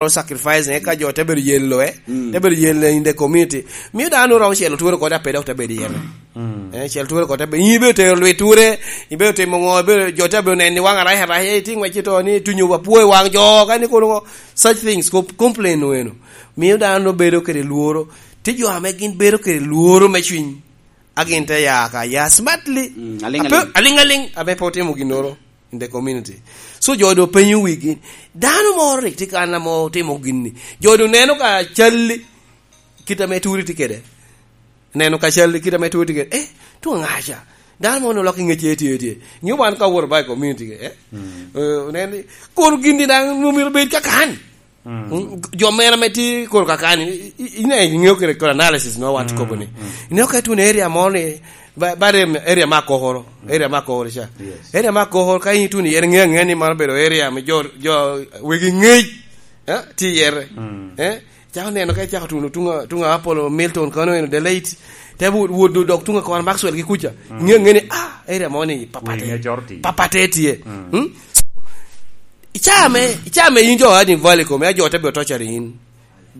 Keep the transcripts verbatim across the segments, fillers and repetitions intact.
sacrifice, eh, ka jo te bedo yello, eh, mm, te bedo yello in the community. Miyo dano romo celo twere kode ape dok te bedo yello. Mm. Eh, celo twere kode ape. In ibedo tero lwit twere, ibedo timo ŋo, ibedo, jo te bedo neni waŋ arac arac, eh, ti ŋwec ito ni tunyo wa puo i waŋ jo, ka ni kono such things, com-, complain wenu. Miyo dano bedo kede lworo. Ti jo ame gin bedo kede lworo me cwiny. A gin te ya ka ya smartly. Mm, aliŋ aliŋ. Ape-, aliŋ aliŋ, ame pe otimo ginnoro in the community. So jo do penyo wigi, dano moro rik tye kan ame otimo gin-ni. Jo do neno ka calli, kit ame turi tye kede. Neno ka calli, kit ame turi tye kede. Eh, tuŋ aŋaca. Dano moro olok i ŋecce tye, tye. Ŋeo wan ka owoto ba i community, eh? Mm. Eh, onen ni, koro gin-ni daŋ myero bed ka kan. Mm. Mm, jo mera ame tye koro kakani, i, i, ine, iŋeo kede kore analysis ma wan tye kobo ni. Mm. Ineo ka ituno area mo ni, ba, ba rem area me Akokoro, area me Akokoro ca. Yes. Area me Akokoro, ka in ituno iye, iŋeo aŋea ni man obedo area me jo, jo wegi ŋec, eh, tye iye. Mm. Eh? Cako neno ka icako tuno tuŋ a, tuŋ a Apollo Milton kono eno the late. Te wot, wot dok tuŋ a Kora Maxwell gi kuca. Mm. Iŋeo aŋea ni, ah, area mo ni, papate. Wi ŋe coro tye. Papate tye. Mm. Mm? So, i caa me, i caa me in jo Harding Valley kome, a jo te bino tocari in.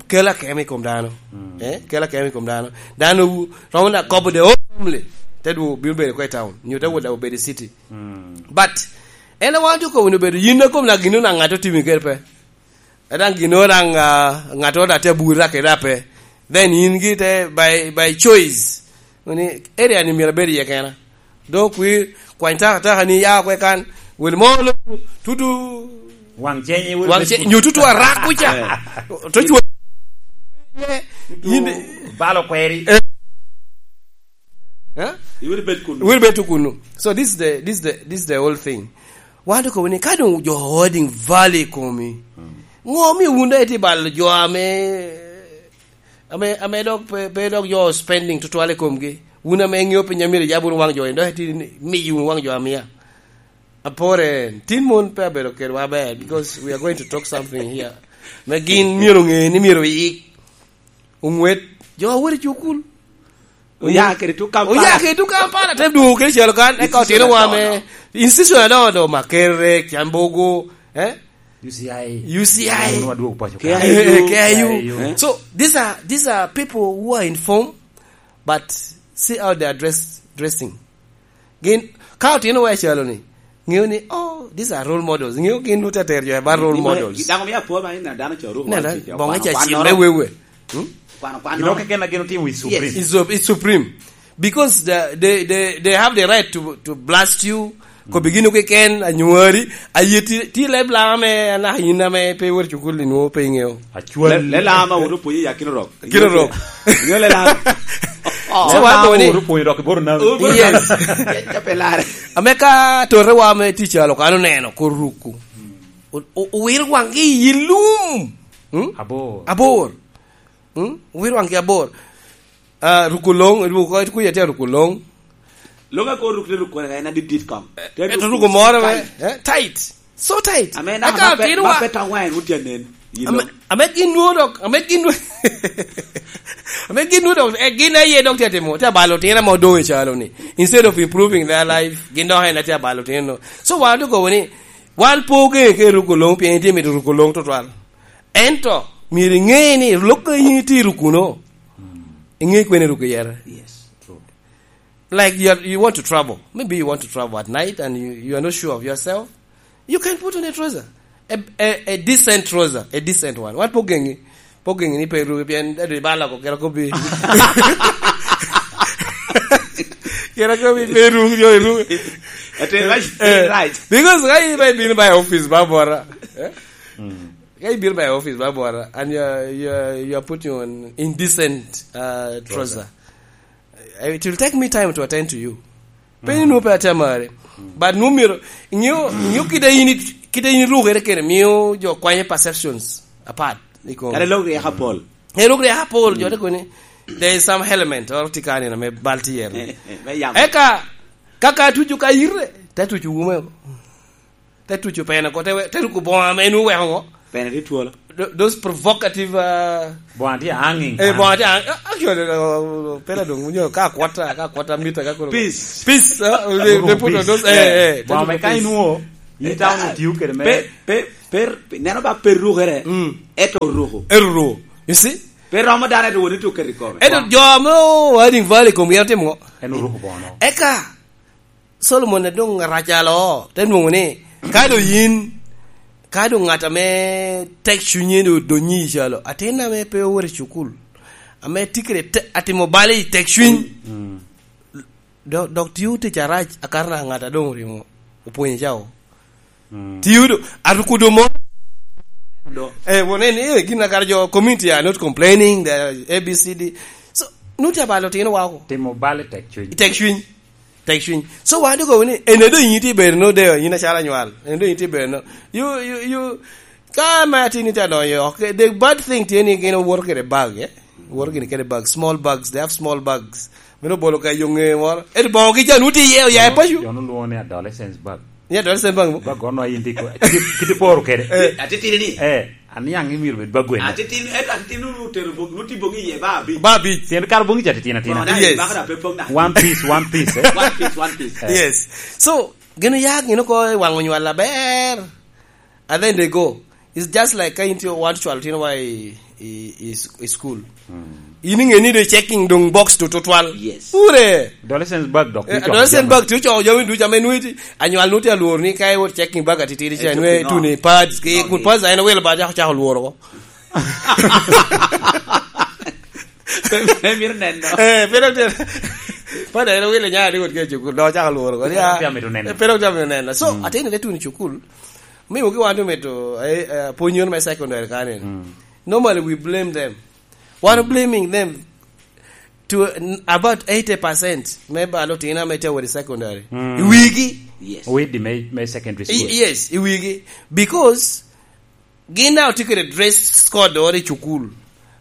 Kel akemo i kom dano. Mm. Eh, kel akemo i kom dano. Dano wu-, romo na kobo the whole family. Te dwogo bino bedo kwe i town. Nyo te wot dok obedo i city. Mm. But, en a wan tye kobo ni obedo yin a kom na gin na ŋat otimi kede pe. Adaŋ gin daŋ, ah, ŋat oro atye aburi rake rape. Then in gi te by, by choice. Ni area ni myero abed iye kena. Dok kwir, kwany taka taka ni ya kwe kan. Wel mo lo, tutu. Waŋ cenyi, wel waŋ cenyi, nyo tutu arak kuca. Eh. To chwo. Tutu yin balo kweri. Eh. Eh? Iwil bet kunu. Iwil bet kunu. So this is the, this is the, this is the whole thing. Wan to kobo ni ka dong jo Harding Valley komi. Mm. Ŋo mi wun dok iti balo jo ame, ame, ame dok pe, pe dok jo spending tutwal i komgi? Wun ame ŋeo piny amiro yab wunu waŋ jo, dok iti miyo wunu waŋ jo amia. Apore, tin mon pe abedo kedwa aber, because we are going to talk something here. Me gin myero ŋe ni myero iyik. Oŋwet, jo a wot i cukul. Oya kede tuk Kampala. Oya kede tuk Kampala, te dwogo kede calo kan, eka institution otino wa me, adoŋo. Institution adoŋo, do Makerere, Kyambogo, eh? U C I. U C I. Wunu adwogo paco ka. K I U. K I U. K I U. Eh? So, these are, these are people who are informed, but see how they are dressed, dressing. Gin, ka otino wa i calo ni, ŋeo ni, oh, these are role models. Ŋeo gin nwoŋo te tero jo about role models. Dano mio apor man, ina dano co ruk. Nena, wan tic, bonge wan ca cil me wewe. Hmm? Kwano, kwano. Gin okene gin otimo is supreme. Yes. Is su-, is supreme. Because the, they, they, they have the right to, to blast you. Kobi gin okeken, anywari, aye ti, ti leb lama me, anaka in ame pe iwot cukul, inwoŋo pe iŋeo. Acwal. Le, le lama wot opwonyo ya Kino Rock. Kino Rock. Nyo le lama. Oh. So, wan kobo ni, wot opwonyo dok i boro nawi. Yes. Ya, ya pe lare. Ame ka tote wa me tic alo kan oneno, kor ruku. O, o, owiro waŋgi i lum. Hmm? Abor. Abor. Hmm? Owiro waŋgi abor. Ah, ruku loŋ, ruku, kuya tye ruku loŋ. Loŋ a kor ruk te ruk kore, en adit dit kom. Te ruk ruku moro me, tight. Eh, tight. So tight. Ame na, aka ma pe, tino ma wa. Pe tong wine wun tye nen. Ame, ame gin nwoŋo dok, ame gin nwoŋo, ame gin nwoŋo dok, eh, gin aye dok tye timo, tye abalo tino ame odoŋ i calo ni. Instead of improving their life, gin dok en tye abalo tino. So wan dok kobo ni, wan pe ogeŋe ke ruku loŋ, pien itye mito ruku loŋ tutwal. Ento, myero iŋe ni, lok a in itye rukuno, iŋe kwene ruku yere. Yes, true. Like you are, you want to travel. Maybe you want to travel at night and you, you are not sure of yourself. You can put on a trouser. A, a, a decent trouser, a decent one. Wan pe ogeŋi, pe ogeŋi ni pe iruki pien dadi bala ko kera kobi. Kera kobi pe iruki, jo iruki. Ate, right, eh, right. Because ka in ba ibino ba i office ba bora. Eh? Mm. Ka ibino ba i office ba bora and you are, you are, you are putting on indecent, uh, trouser. Trouser. Eh, it will take me time to attend to you. Pe ni nwoŋo pe atye amari. But nwoŋo myero, ingeyo, ingeyo kite in it-, kite in irukere kene, miyo jo kwanye perceptions apart. Iko. Kare lok ryeko apol. Eh, lok ryeko apol, jo te koni, there is some element, or tye kani na me bal tye yere. Me yamo. Eka, kaka tucu ka ire, te tucu wume. Te tuco pene ko, te we-, te ruko boŋo ame en oweko ŋo? Pene tye twolo. Tho-, those provocative, uh, boŋo tye hanging. Eh, boŋo tye hang-, actually, uh, pera dong, you know, ka akwata, ka akwata mita, ka koro. Peace. Peace, uh, they, they put on those, eh, eh, te ruko peace. Boŋo me ka inwo, in town otiyo kede me. Pe, pe, Per, neno ba per rukere, mm, eto ruku. Eto ruku. You see? Per romo dano eto woni tu keto i kome. Eto jo ame o Harding Valley kom gin otimo ngo? En oruku bono. Eka, Solomon a doŋ arac alo, te nwoŋo ni, ka doŋ yin, ka doŋ ŋat ame tek cunye doŋ odonyi i calo, atin ame pe owoto i cukul, ame tye kede te-, atimo bal i tek cuny, mm, dok, dok tio tic arac, akato naka ŋat a doŋ orimo opwonyo cao. Mm. Tio do, aruku do mo. Do. Eh, wone ni, eh, gin akato jo community are not complaining, they are A B C D. So, nuti abalo tino wa oko. Timo bal i tek cuny. I tek cuny. Tek cuny. So, wan doŋ okobo ni, en doŋ yin tye bedo no, de, yin acalo anywal. En doŋ yin tye bedo no. You, you, you, ka me atin ite adonyo, okay, the bad thing tye ni gin owoto kede bag, eh? Woto gini kede bag, small bags, they have small bags. Meno bolo ka yo ŋe moro. Ento boŋo gi can uti iye, oya i paco. Jono lwongo ni adolescence bag. Ni adolescent bag mo? Bag ono ayin tye ko-, kiti, kiti poro kede. Eh. Atitini ni. Eh, aniaŋ imiro bed bag gweno. Atitini, eh, atitini nu tero bog, nu ti boŋi iye ba abic. Ba abic. Tyen kar boŋi ca titino atina. Boŋo da, yes, ibako da pe pong da. One piece, one piece, eh. One piece, one piece. Eh. Yes. So, gin oya gin oko i waŋ onywal aber. And then they go. It's just like ka in tye wan cwalo tino wa i, i, i, i school. Mm. In iŋe ni de checking doŋ box to tutwal. Yes. Ure. Adolescent bag dok. Eh, tye adolescent bag tye coko jami ducu ame nwe ti, anywal nwe ti alwor ni ka iwot checking bag atitidi cha, eh, nwe tuni pads, ke kun pads ayen owilo ba chako, chako lworo ko. Pe, pe mito neno. Eh, pe dok tye. Pads ayen owilo nya ni wot ke cukul, dok chako lworo ko. Pe dok tye mito neno. Eh, pe dok tye mito neno. So, mm, atino te tuni cukul. Miyo ki wan omito, eh, eh, pwonyo me secondary kani. Mm. Normally we blame them. Wan blaming them to, n-, about eighty percent me balo tina me tye wodi secondary. Mm. I wigi. Yes. Wedi me, me secondary school. I, yes, i wigi. Because gin daŋ otye kede dress code oro i cukul.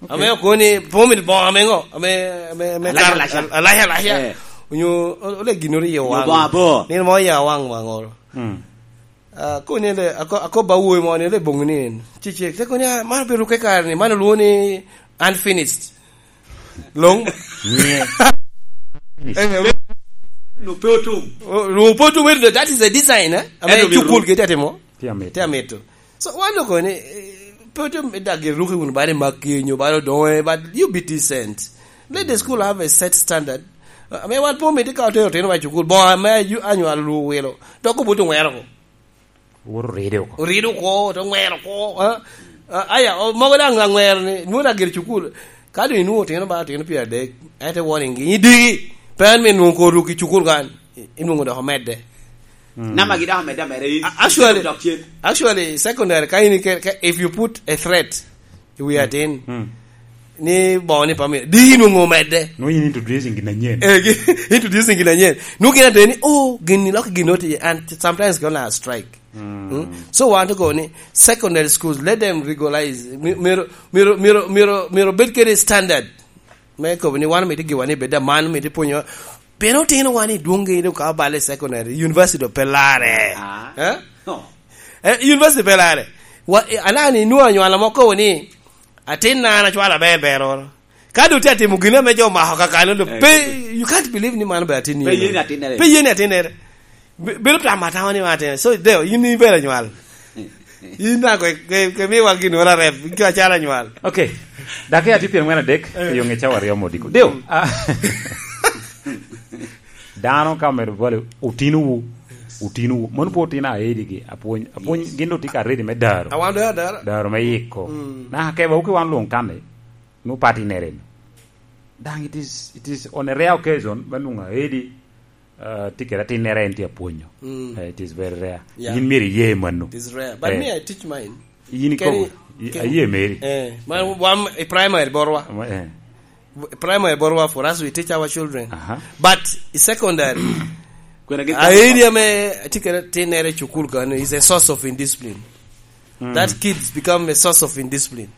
Okay. Ame okoni, po mit boŋo ame ŋo? Ame, ame, ame alac, kar-, alac. Al-, alac, alac. Eh. Onyo, o-, ole ginoro i owaŋ. Onyo boŋo abor. Nino mo i owaŋ, waŋ oro. Mm. Ah, koni le, ako-, akobo awobi mo ni le boŋo ni en. Cicek, te koni, ah, man obedo ke kare ni, man olwongo ni unfinished. Long. Nye. Eh, no pe otum. Oh, no pe otum, eh, that is a design, eh? Ame cukul ke te timo. Tye amito. Tye amito. So, wan okoni, eh, pe otum, eh, dag iruki wunu bale makki nyo bale odoŋe, but you be decent. Let the school have a set standard. Uh, ame wan po mito ka otero otino wa i cukul, boŋo ame ayu-, anywal ru wilo. Dok obuto ŋwero ko. Wot oride oko. Oride oko, to ŋwero oko, ha? Ah, aya, o, mogo daŋ aŋwero ni, nwoŋo daŋ gire cukul. Ka doŋ inwoŋo otino ba, otino pyeradek, ento warning gi, idigi. Pe en me nwoŋo kor ruk i cukul kan, i-, inwoŋo dok omedde. Mm. Nama gi dok omedde ameda, i-, a-, actually, dok cen. Actually, secondary, ka in ike-, ka, if you put a threat, i wi atin. Mm. Ni boŋo ni pamio, di nwoŋo omedde. Nwoŋo in introducing gin anyen. Eh, gi-, introducing gin anyen. Nwoŋo gin ateni, oh, gin ni lok gin oti, and sometimes gonna strike. Mm. Mm. So wan to go ni secondary schools, let them regularize. Mi-, miro, miro, miro, miro, miro bed kede standard. Me kobo ni wan mito giwa ni bed aman, mito pwonyo. Pien otino wan i dwoŋ gi, ka obalo i secondary, university pe larre. Ah. Eh? No. Eh, university pe larre. Wa, eh, alani nwoŋo anywala mo kobo ni, atin na an acwalo aber ber oro. Ka doŋ tye atimo gin ame jo omako kakano, doŋ pe, you can't believe ni man be atin ni. Pe ye ni atin ere. Pe ye ni atin ere. Be-, bedo tamo atamo ni man atin ere. So, deo, in ibedo anywal. In daŋ kwe, kwe, kwe miwa gin oro arep, in kwe acalo anywal. Okay. Dakika tye pyeŋwen adek, eh, yo ŋe cawa aryo modiko. Deo. Ah. Dano ka omedo bwalo, otinowu, otinowu. Mano pe otino aedigi, apwony, apwony, yes, gin doŋ tye ka ready me daro. Awan doŋ adara. Daro me yiko. Mm. Na, keba, wuki wan luŋ kani, nu party nere ni. Daŋ it is, it is on a rare occasion, me nwoŋo aedi, uh, tye kede atinnere en tye apwonyo. Mm. Eh, it is very rare. Yeah. Yin myero iye mano. It is rare. But, eh, me, I teach mine. Yin ikobo, i-, aye meri. Eh, man wan i primary borwa. Eh. Primary borwa, for us, we teach our children. Aha. But i secondary, kwena gi area me tye kede tinnere i cukul kano is a source of indiscipline. Mm. That kids become a source of indiscipline.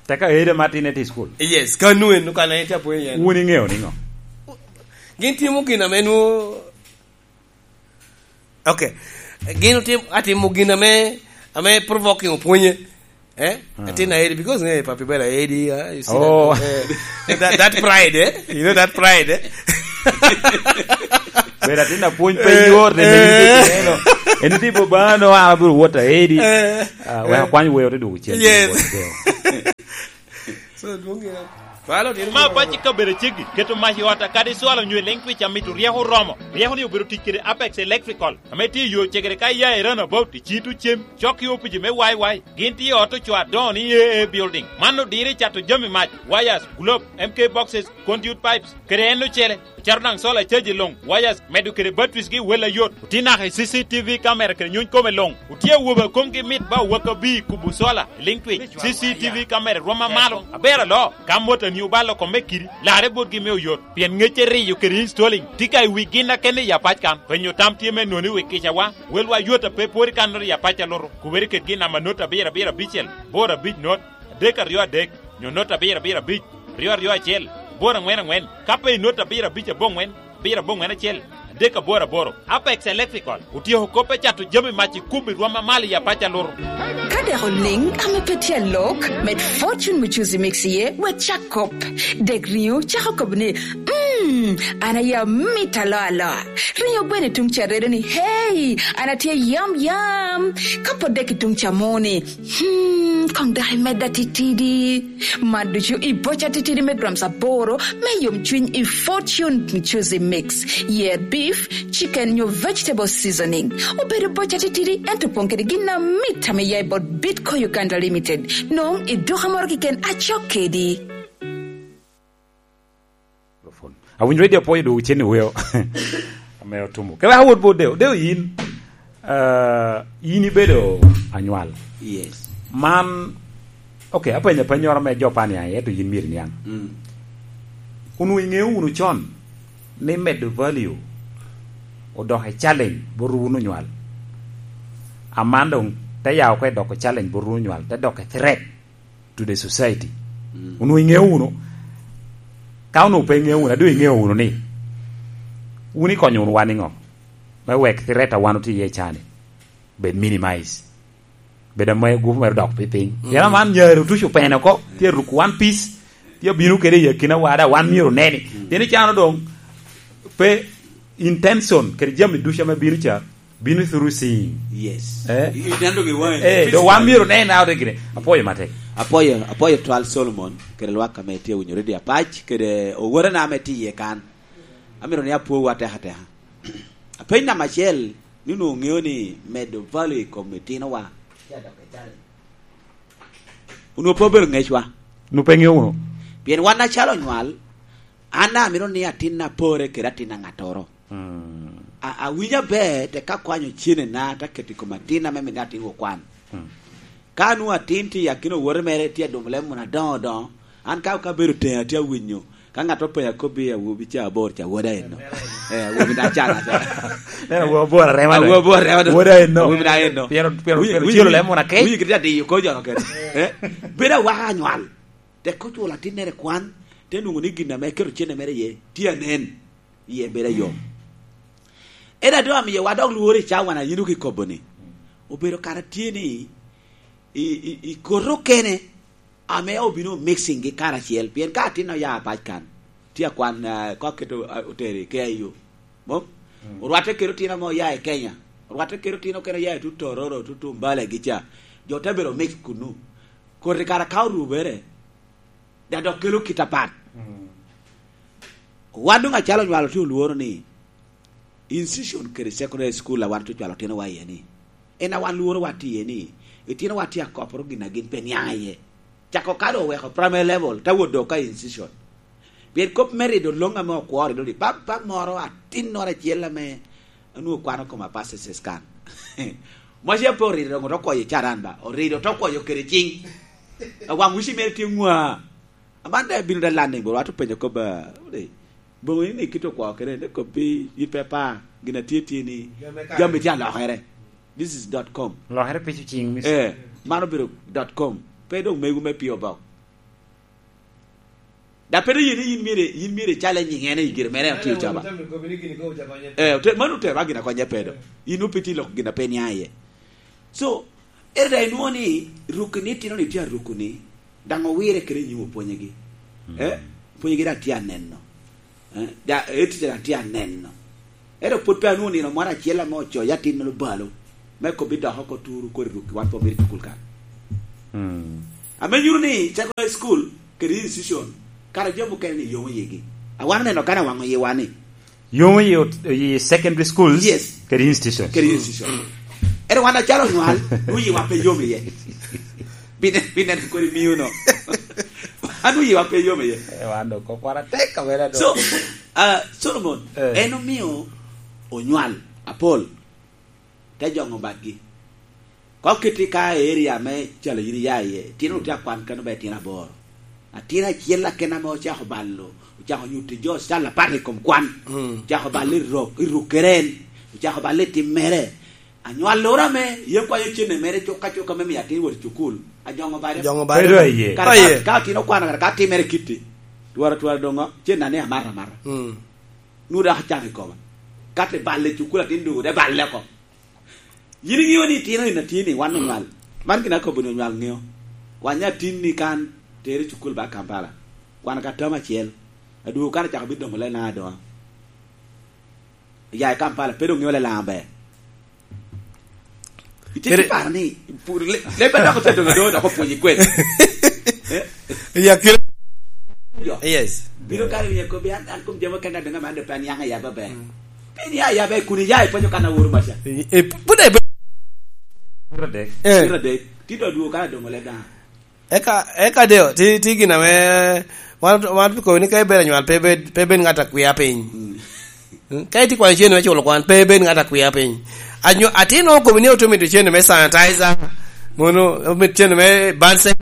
Teka area ma tinne tye i school? Yes, kano en, kano en tye apwony en. Wun iŋeo niŋo? Gin timo gin ame nwo Okay. Gin otim-, atimo gin ame, ame provoking opwonye. Eh? Hmm. Atin aedi, because, eh, papi bela aedi, ah, you see, oh, that, eh, that, that pride, eh? You know that pride, eh? Bela atin apwony pe, eh, yor, eh, you know. En tipo ba no, an abiro wot aedi. Eh. Ah, wek akwany wer te dwogo cen. Yes. Wot deo. So, dwong ya. Malo, dino ma mo. Paci kabedo ceggi, keto mac i ot kadi cwalo nyo i leŋ twic amito ryeko oromo. Ryeko ni obedo tic kede Apex Electrical, ame tye i yo cegere ka iya i Roundabout, i Cito Cem, cok i opici me Y Y. Gin tye i ot ocoo adoŋo ni A A Building. Man odiro i cato jami mac, wires, globe, M K boxes, conduit pipes, kede en ocele. Ocito daŋ solar charge i luŋ, wires, medo kede batteries gi wel ayot. Otye naka i C C T V camera kede nyuny kome luŋ. Otye awobe a komgi mit ba owaka bi kubo solar i liŋ twic. C C T V camera rwom amalo, aber aloo. Ka motoni obalo kome kiri, larre botgi me oyot. Pien ŋecce riyo kede installing tye ka i wi gin a kene i apac kan. Penyo tam tye me noni wi kicawa. Welwa yot a pe pwod i kan noti i apac a luto. Kubere kede gin namba not abiro abiro abicel, boro abic not, adek aryo adek, nyo not abiro abiro abic, ryo aryo acel, boro aŋwen aŋwen, ka pe i not abiro abic aboŋwen, abiro aboŋwen acel, adek aboro aboro. Apex Electrical otyeko kop me cato jami mac i kubo i rwom amalo i apac a luto. Ka dek oliŋ ame pe tye alok, med Fortune Muchuzi Mix iye, wek cak kop. Dek riŋo cako kop ni, "Mm, an aye amit alo alo." Riŋo gweno i tuŋ ca redo ni, "Hey, an atye yam yam." Ka pwod dek i tuŋ ca mo ni, "Hmm, koŋ dok imedda titidi." Man ducu i boca titidi me grams aboro me yomcwiny i Fortune Muchuzi Mix. Yer beef, chicken nyo vegetable seasoning. Obedo boca titidi, ento opoŋ kede gin amit ame ya i bot Bitco Uganda Limited. Nwoŋo i duka moro keken acok kedi. Awinyo radio apwoyo dwogo cen i weo. Ame otumo. Kewek awot bot Deo. Deo yin, ah, yin ibedo anywal. Yes. Man, ok, apenyo apennyoro me jo pa niaŋ, ento yin myero iniaŋ. Mm. Onwoŋo iŋeo wunu con ni medo value odoko i challenge bot wun onywal. Aman doŋ te ya oko i doko challenge bot wun onywal, te doko i threat to the society. Mm. Onwoŋo iŋeo wunu. Ka onwoŋo pe iŋeo wunu, a doŋ iŋeo wunu ni wun ikonyo wunu wan niŋo? Me wek threat a wan otye iye cani bed minimize. Bed ame gupu mere dok piny. Mm. Pien aman nyare otuco pene oko, tye aruko one piece, tye abino kede i akina wada, wan myero oneni. Mm. Pien i cano doŋ pe intention kede jami ducu ame bino ca, bino through seeing. Yes. Eh? I, i neno gi wang'i. Eh, do wan myero nen out gine. Apwoyo matek. Apwoyo, apwoyo twal Solomon, kede lwak ame tye winyo radio apac, kede owotena ame tye iye kan. Amito ni apwowu ateka ateka. Apeny namba acel, ni onwoŋo ŋeo ni medo value i kom itinowa. Onwoŋo pe obedo ŋecwa. Onwoŋo pe ŋeo wunu. Pien wan acalo onywal, an amito ni atinna pore kede atin a ŋattoro. Mm. A-, awinyo aber, tek akwanyo cennena, te keto i kom atin ame mito ni atin okwan. Mm. Ka nwoŋo atin tye i akina owote mere, tye adumo leb munu adoŋo adoŋo, an ka, ka abedo teŋe atye awinyo, ka ŋat openya kobbi, "Awobi ca abor ca, woda enno." Eh, awobi na can aca. Neno, awobi abor arema do. Awobi abor arema do. Woda enno. Awobi na enno. Pien, pien, winyo, pien winyo, cilo leb munu akec. Winyo kit adiyo ko jono kede. Eh? Bedo awaka anywal. Tek oculo atinnere kwan, te nwoŋo ni gin ame eketo cene mere iye, tye anen, iye bedo ayom. En a doŋ amiyowa dok lworo i cawa a yin oki kobo ni, obedo kara tye ni i, i, i koti okene ame obino mixing gi karacel, pien ka atin oya pac kan, tye akwan, ah, ka oketo, ah, otero i K I U. Mom? Mm. Orwatte kede otino ame oya i Kenya, orwatte kede otino okene oya i tut Tororo, tut Mbale gi ca. Jo te bedo mix kunu. Koti kara ka orubere, da dok kelo kit apat. Mm. Wan doŋ acalo onywalo tye olworo ni institution kede secondary school a wan tye ocwalo otinowa iye ni, en a wan lworo wa tye iye ni, itinowa tye akoporo gin a gin pe niaŋ iye. Cako ka doŋ oweko primary level, te wot doŋ ka institution. Pien kop me rido loŋ ame okworo rido ni, bab, bab moro atinnoro acel ame onwoŋo kwano koma passes kan. Maca pe orido doŋ oto kwoyo i caran ba, orido oto kwoyo kede ciŋ. Awaŋ uci mere tye ŋwa. Aman daŋ ebino daŋ landing, bot wat openyo kop, ah, ni, boŋo in ikito kwo kede, ni kop pi, yin pe pa, gin a tye tye ni, jami tye alokere. This is dot com. Lokere pi ciŋ, miss. Eh, man obedo dot com. Pe doŋ mego me P O Box. Da pe doŋ yin, yin myero, yin myero ical i nyiŋe ni gire mere en otye ocaba. Eh, ote-, mano otero a gin a konye pe do. In ope tye loko gin a pe niaŋ iye. So, ere daŋ inwoŋo ni rukoni itino ni tye arukoni, daŋ owire kede nyim opwonyegi. Mm. Eh? Opwonyegi daŋ tye aneno. Eh? Da, eti daŋ tye aneno. Ento pwod pe anwoŋo nino moro acel ame ocoyo atin me lubalo. me kobbi dok oko turu kodi rukki wan pe omito i cukul kan. Mm. Ame nyuto ni secondary school kede institution, kara jami mukene ni yomo yigi. A wan oneno kan awaŋo yiwa ni. Yomo yi ot-, yi secondary schools. Yes. Kede institution. Kede institution. Ere wan acalo onywal, wiwa pe yom iye. Bine, bine kodi miyo no. Wan wiwa pe yom iye. Eh, wan do kok wan atek kabela do. So, ah, Solomon, eh, en omio onywal apol te joŋo batgi. Ka oketi ka i area me calo yin iya iye, itino tye akwan kano ba itino aboro. Atin acel aken ame ocako balo, ocako nyuto jo cal apat i kom kwan. Mm. Ocako balo i rok, i ruk kere en. Ocako balo i tim mere. Anywal loro ame yam kwanyo cene mere cuk ka cuk ame mio atin wot i cukul. Ajoŋo bade. Ajoŋo bade. Bedo aye. Kara ka, ka atin okwano kara ka timere kitti. Twara, twara doŋo, cen ane amata amata. Mm. Nwoŋo dok acako i koma. Ka te balle i cukul atin doŋo, te balle oko. Yin iŋeo ni itino in atin ni wan onywal. Man gin akobo ni onywal ŋeo. Kwany atin ni kan, tere i cukul ba Kampala. Kwan ka tam acel. Adwogo kan acako bino domo lena adoŋa. Ya i Kampala, pe doŋ ŋeo lela maber. Ite Kere- paro ni, pu-, le-, leb adok ote doŋ adoŋo dok opwonyi kwede. Eh? Ya kere- Jo. Yes. Bino kare ni ekobi an, an kom jamo kenda doŋ amande pe an yaŋ ayaba be. Mm. Pe ni ayaba kun iya ipwonyo kan aworo maca. E, e, pud e be- Pira dek. Eh. Pira dek. Ti do duo kan adoŋo le daŋ. Eka, eka deo, ti, ti gin ame, wan, wan pi kobo ni ka ibed anywal, pe bed, pe bed ŋat a kwia piny. Mm. Mm, ka itye kwanyo cene me culo kwan, pe bed ŋat a kwia piny. Anyo-, atin nwoŋo kobo ni oto mito cene me sanitizer, mono omito cene me bansen,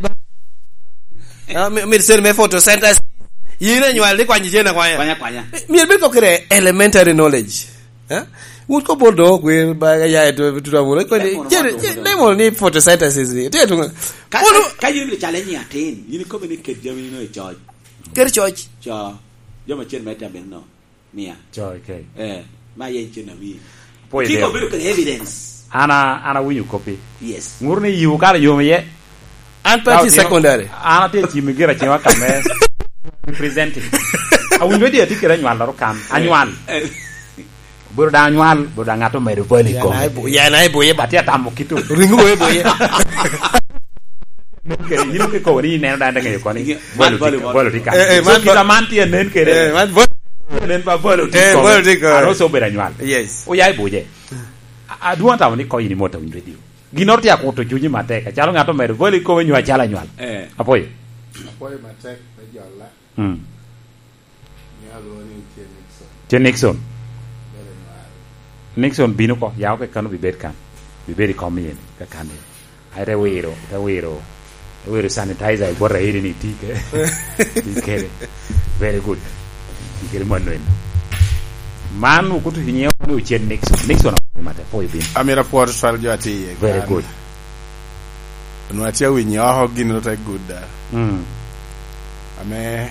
ah, mi-, omito cene me photosynthesis. Yin anywal ni kwanyo cene akwanya. Kwanya, kwanya. Myero bed kok kede elementary knowledge. Eh? Wut ko bol do kwer ba ya e to, to, to, ko ni, Lemon cere, wan cere, do. Lemon ni photosynthesis ni. Te to. Ka, Mono ka, ka yin bili challenge ni atin, yin ikome ni ket jami no i coc. Ket coc. Co. Jami acel me tamo no. Mia. Co, okay. Eh, ma yen cen ami. Apoyo Kiko deo. Bedo kede evidence. An a-, an awinyo koppi. Yes. Ngur ni yiwu kara yom iye. An pe atye i secondary. An atye i cim i gira cima ka me representing. Awinyo di atye kede anywal laro kan. Anywal. Eh. Obedo daŋ anywal, obedo daŋ ŋat omedo value i kome. Yan ai bu-, yan ai boye ba. Atye atamo kito. Ringo boye boye. Nen kede, yin kikobo ni ineno daŋ ŋeyo koni. Nge-, value man value tye, mo. Value tye kan. Eh, eh, so man kit va-, aman tye nen kede. Eh, man value. Nen ba value tye Eh, kome. Value tye kome. Aro so obedo anywal. Yes. Oya i buje. A-, adwoŋ atamo ni kony ni mot awinyo radio. Ginnoro tye akuto cunyi matek, acalo ŋat omedo bolo i kome nyo acalo anywal. Eh. Apoyo. Apoyo matek me jolla. Mm. Nyo alwongo ni Chen Nixon. Chen Nixon. Bedo anywal. Nixon bino ko, ya oke kano bibed kan. Bibed i kom yen, ka kan yen. Ai, te wiro, te wiro. Te wiro sanitizer i bot airi ni ti ke-, ti kede. Very good. Ti kede mano en. Man okuto i nyiŋe ni Ochen Nixon. Nixon apoyo mate, apoyo bin. Amito apwot twal jo atye iye. Very good. Onwongo atye awinyo oko gin ru te gudda. Mm. Ame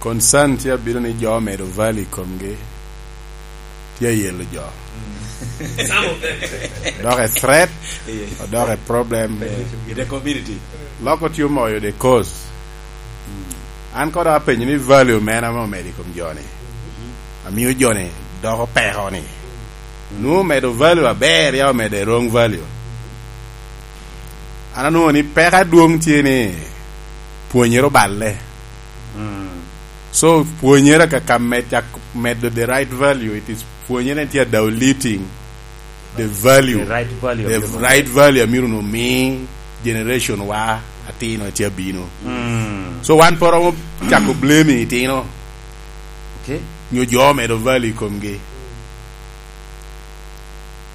concern tye abedo ni jo omedo value i komgi. Tye ayelo jo. Mm. Some of them. Odoko a threat, yeah, odoko a problem. Yeah. In the community. Loko tye omoyo the cause. Mm. An kono apenyo ni value mene ame omedo i kom joni? Amiyo joni doko peko ni. Mm. Nwoŋo omedo value aber, ya omedo a wrong value. An anwoŋo ni peko adwoŋ tye ni pwonyere oballe. Mm. So, pwonyere ka, ka med-, cak medo the right value, it is pwonyere tye diluting the value. The right value. The right value amiro no mi generation wa atino tye abino. Mm. So, wan pe romo cako blaming itino. Okay. Nyo jo medo value i komgi.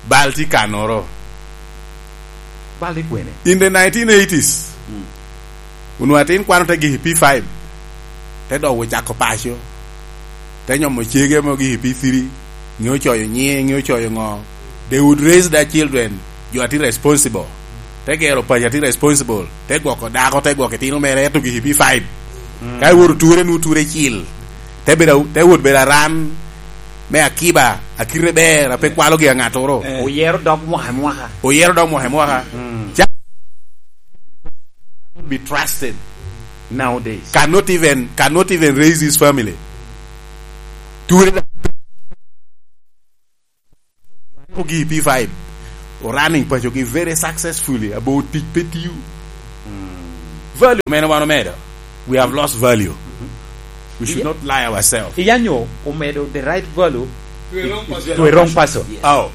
Bal tye kanoro. Bal tye kwene? In the nineteen eighties, mm, onwoŋo atin kwano te gik i P five, te dok ocako paco, te nyomo cege mo gik i P three, ŋeo coyo nyiŋe, ŋeo coyo ŋo. They would raise their children, jo atin responsible. Te gero paco atin responsible, te gwoko dako, te gwoko itino mere, ento gik i P five. Mm. Ka iwoto ture, nwoŋo ture cil. Te bedo a-, te wot bedo aran me akiba, akite ber, a pe kwalo gi a ŋattoro. Eh. Oyero dog mwaka i mwaka. Oyero dog mwaka i mwaka. Mm. Ca-, be trusted. Nowadays. Cannot even, cannot even raise his family. Ture da-, ogi P five. running pacogi very successfully, about tic pe tiyo. Value mene wan omedo. We have lost value. We should not lie ourselves. Iyanyo omedo the right value to a wrong person. Yes. How?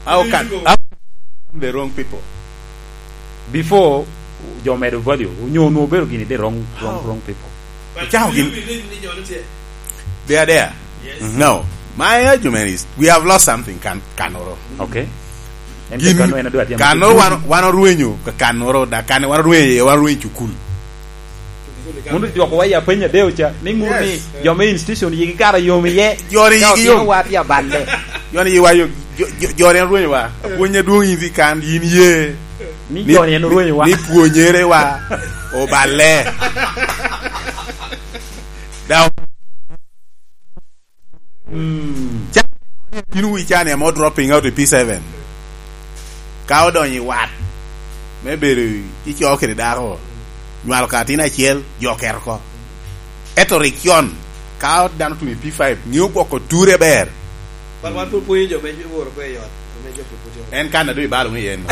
How can, how can the wrong people? Before, jo medo value, onyo onwo obedo gini the wrong, wrong, wrong people. Icako gin. They are there. Yes. No. My argument is, we have lost something, kan-, kanoro. Okay. En Gin-, kano en adwa tye kanoro wan, wan orwenyo ka kanoro, da kan wan orwenyo, wan orwenyo cukul. Mondo dwoko wa ya penya deo cha, ni ŋut ni Yes. jo me institution yigi kara yom iye. Joni Ka yigi otino yom. Wa tye aballe. Joni yigi wa yom. Jo, jo, joni en orwenyo wa. Apwony adwoŋ in dhi kan, yin ye. Ni Ni, joni en orwenyo wa. Ni pwonyere wa. Oballe. Daw. Mm. Ca-, in wi cani amo dropping out i P seven. Ka odonyo i wat, me bedo i coo kede dako, nywalo ka atin acel, jo oketo oko. Ento rik con, ka dano otuno i P five, ŋeo gwoko ture ber. But wan pwod pwonyo jo me woro kwe i ot, me jo pwod pwod En kan a doŋ ibalo ŋe yen.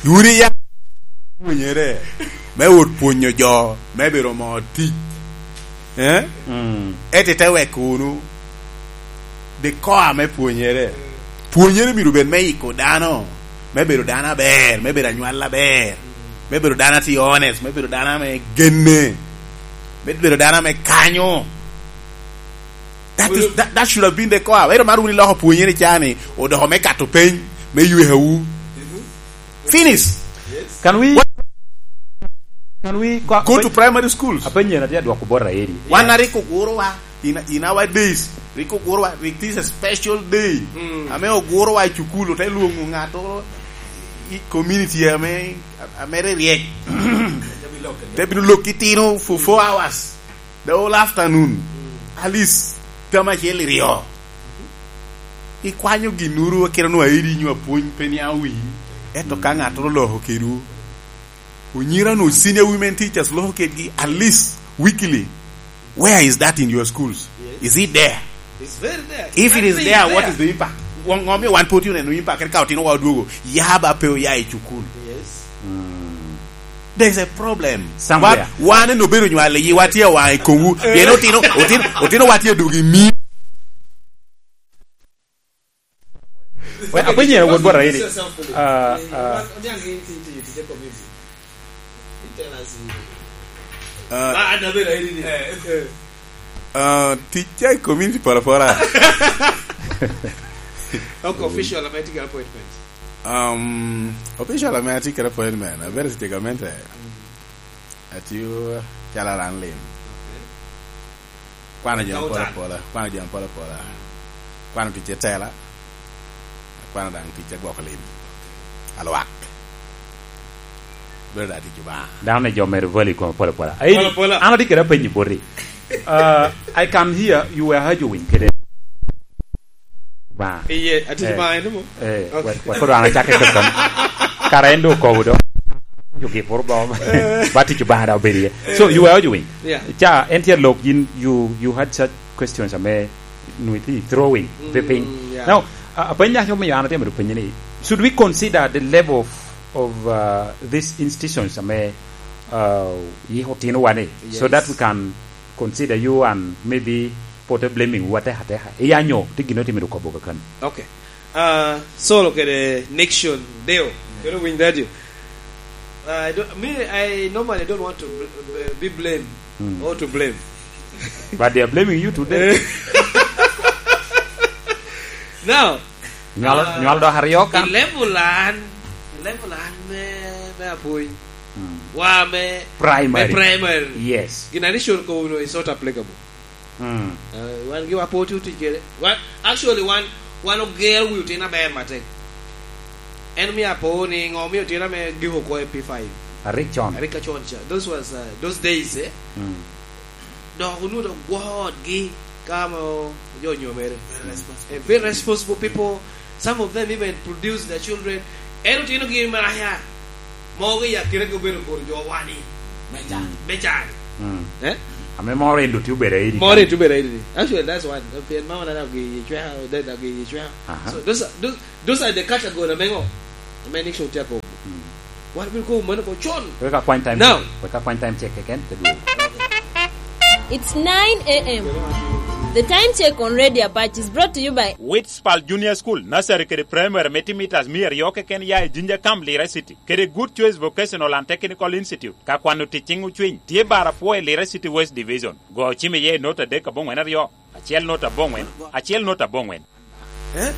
Wun iya pwonyere me wot pwonyo jo me bedo mo tic. Eh? Mm. Ete te weko wunu the core me pwonyere. Pwonyere myero obed me iko dano, me bedo dano aber, me bedo anywal aber, me bedo dano a tye honest, me bedo dano ame genne, me bedo dano ame kanyo. That is, that, that should have been the core. Ero mar wun iloko pwonyere cani, odoko me kato peny, me ywehawu. Finish. Can we, What? Can we go, go to primary schools? Apenyo na tye adwoko bot Raeli. Wan a rik oguro wa, in, in our days, rik oguro wa, rik this a special day. Mm. Ame oguro wa i cukul, ote lwongo ŋato i community ame, ame ri ryek. Te bino lok kitino for four hours. The whole afternoon. Mm. At least, tam acel iryo. Ikwanyo ginuru, kit onwo airi nyo apwony pe niaŋ wii. Ento ka ŋattoro loko kedwu, onyira nu senior women teachers loko kedgi at least weekly. Where is that in your schools? Yes. Is it there? It's very there. If it is there, what is the impact? Ŋo, ŋo mi wan pe otye oneno impact, ka otino wa odwogo, ya ba pe oya i cukul? Yes. Mm. There's a problem. Somewhere. Wan, wan en obedo nywal i yiwa tye waŋ i komwu. Eh. Pien otino, otino, otino wa tye dwogo i mi. Well, apenyo en wot bot Raeli. Ah, ah. Ah, tic tye i community pol apola. Ok, official ame tye kede appointment. Um, official ame atye kede appointment, abedo i Tegamente. Mm. Atiyo calo aran lim. Ok. Kwano jami pol apola, kwano jami pol apola. Kwano tic i tela, akwano daŋ tic a gwoko lim. Alwak. Bedo da tic Obaŋa. Dano ni jo mere voli kome pol apola. Ai, pol apola. An atye kede apenyi boti. Uh, I can hear you were arguing kede Obaŋa. Iye, ati Obaŋa eno mo? Eh, okay. Wa, wa, koro an acake kede kama. Kara en do okobo do. Yugi pur bom. Eh. But tic Obaŋa da obedo iye. So, you were arguing. Yeah. Ca, en tye lok yin, you, you had such questions ame nwi throwing, mm, the thing. Yeah. Now, uh, apenyo aco miyo an atye mito penyo ni, should we consider the level of, of, uh, these institutions ame, uh, yi otino wane, so that we can consider you and maybe put a blaming wu ateka ateka. Iya nyo, ti gino ti mito kobo kakano. Okay. Uh, Solo kede Nixon Deo. Kede Winy Radio. Uh, I don't, me, I normally don't want to bl-, be blamed, mm, or to blame. But they are blaming you today. Now, nywalo, uh, nywalo dok aryo kan. I level an, i level an me, me apwony. Mm. Wa me, primary. Me primary. Yes. Gin a Nixon kobo no is not applicable. Mm. Uh, wan gi wa pwod otic kede. Wan, actually, wan, wan ogero wi otin aber matek. En omio apo ni ŋo omio otin ame giko oko i P five. Arik con. Arik ka con ca. Those was, uh, those days, eh? Mm. Dok onwoŋo dok gwoko otgi ka mo jo onyomere. Very responsible. Eh, very responsible people. Some of them even produce their children. En otinogi maraya. Mogo i akina ka obedo kor jo wani. Me can. Mm. Me can. Mm. Eh? Ame moro en dutye obed airi Moro kan. Itye obed airi. Actually, that's one. Pien mama na dog i cweka, dog i cweka. Aha. So those are, those, those are the category ame ngo? Ame Nixon tye akobo. Mm. Wan bino kobo mano ko con. Wek akwany time Now. Check. Wek akwany time check keken, te duogo. It's nine a m. The time check on Radio Apache is brought to you by Witspal Junior School, nursery kede primary me timitas mia aryo keken ya i Jinja Camp, Lira City, kede Good Choice Vocational and Technical Institute. Ka kwano tic ciŋ ocwiny, tye bar apwo i Lira City West Division. Go ocim iye i nota adek aboŋwen aryo, acel nota aboŋwen, acel nota aboŋwen. Eh?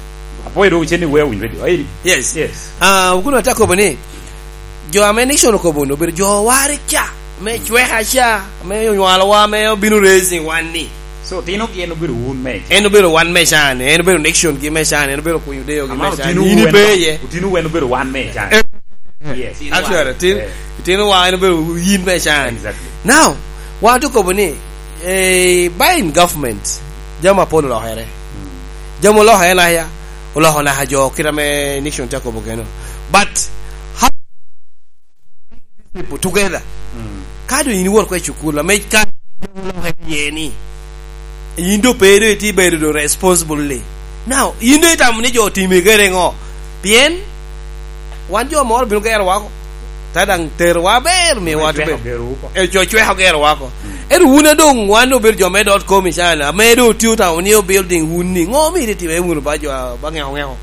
Apwoyo dwoko cen ni wea winyo redio. Airi. Yes. Yes. Ah, wukuno ate akobo ni, jo ame Nixon okobo ni obedo jo wari ca, me cweka ca, me onywalowa, me obino raising wan ni. So, tino gi en obedo wun me ca. En obedo wan me ca ni, en obedo Nixon gi me ca ni, en obedo kunyo deyo gi me Amano ca ni. Tino In wen, ipe iye. Tino wen obedo wan me ca ni. Eh. Yes. Actually, tin, Eh. Tino wa en obedo yin me ca ni. Exactly. Now, wan ate okobo ni, eh, by in government, jami apol olokere. Mm. Jami olokere laya, oloko naka jo kit ame Nixon tye akobo keno. But how people together? Mm. Ka doŋ in iwot oko i cukul, ame ka jami olokere iye ni, in doŋ pe doŋ itye bedo doŋ responsibly. Now, in doŋ itamo ni jo otimi kede ŋo? Pien wan jo moro bino gero wako. Ta daŋ terowa aber, miwa Cweko tube. Gero wako. E, co cweko gero wako. Mm. Ento wun a doŋ wan obedo jo me dot kom icana, ame doŋ otio tawo ni o building wun ni, ŋo omito itime wunu ba jo a, ba ŋeko ŋeko?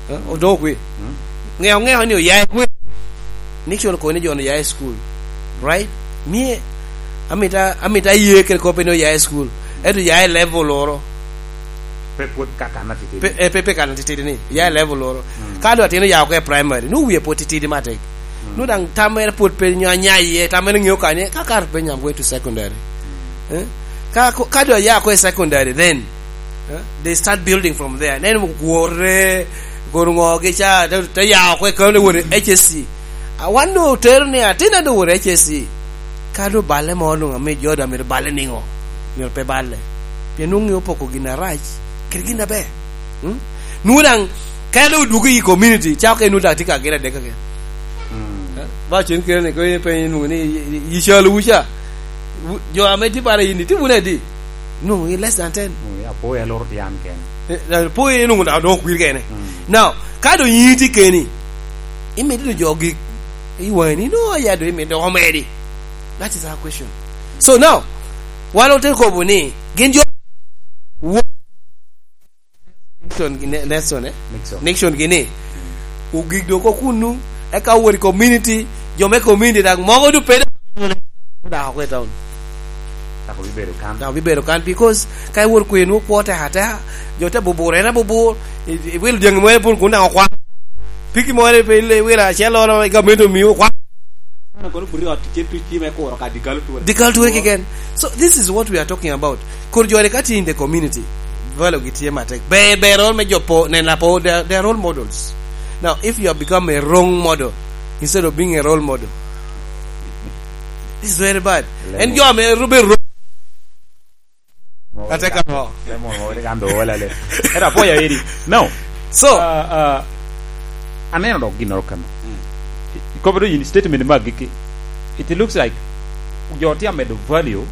Eh, odoko kwi. Mm. Ŋeko ŋeko ni oya i kwi. Nixon okobo ni jo ni oya i school. Right? Mie, amita, amita ye kede kop ni oya i school. Ento ya i level oro. Pe pwod ka kan atitidi. Pe, eh, pe, pe kan atitidi ni. Ya i level oro. Mm. Ka do atin oya oko i primary, nu wie pwod titidi matek. Mm. Nu daŋ tam mere pwod pe nyo anya iye, tam mere ŋeo kanye, ka kar pe nyam going to secondary. Eh? Ka, ka do ya oko i secondary, then, eh, they start building from there. Nen gwore, goro ŋo gi ca, te, te ya oko i kano wot i H S C. A wan do otero ni atin a do wot i H S C. Ka do balle mo nwoŋo ame jo do amito balle niŋo? Myero pe balle. Pien nwoŋo ŋeo poko gin arac kede gin aber. Hmm? Nwoŋo daŋ, ka doŋ odwogo i community, cako ka nwoŋo daŋ tye ka gin adek keken. Mm. Eh, ba cen kene ni, ko ipenyo nwoŋo ni, i, i, i calo wu ca, wu, jo ame tye bara in, itye wunu adi? Nwoŋo i less than ten. Mm, ya, po ya loro tye an kene. Eh, eh, po ya nwoŋo daŋ, doŋ okwir kene. Mm. Now, ka doŋ in itye keni, imito doŋ jo gik i wani, no, ya doŋ imito doŋ omedi. That is our question. So now, wan ote kobo ni, gin jo, wo-, Nixon gi ne-, Nelson, eh? Nixon. Nixon gi ni, ogik dok oko kunnu, eka owot i community, jo me community dak mogo du pede, dak oko i town. Dak obibedo kan. Dak obibedo kan, because ka iwot kwe nwoŋo kwo tek ateka, jo te bubur, en abubur, i, i wil dyangi mo en pun kun dak okwan. Piki mo en pe ile wil acel olo, i gamente omiu okwan. Kono kono buri ot tye tuc tye me kuro ka dikal tuwe. Dikal tuwe keken. So this is what we are talking about. Kur joni ka tye in the community, valo gi tye matek. Ber, ber role me jo po, nen apo, they are, they are role models. Now, if you have become a wrong model, instead of being a role model, this is very bad. Lemo. En jo ame ru-, be ro-, Ate ka mo. Ate mo, ate ka ndo wala le. Era po ya eri. No. So, uh, uh, aneno dok ginnoro kano. Mm. Ikobo do in statement ma giki. It looks like jo tye amedo value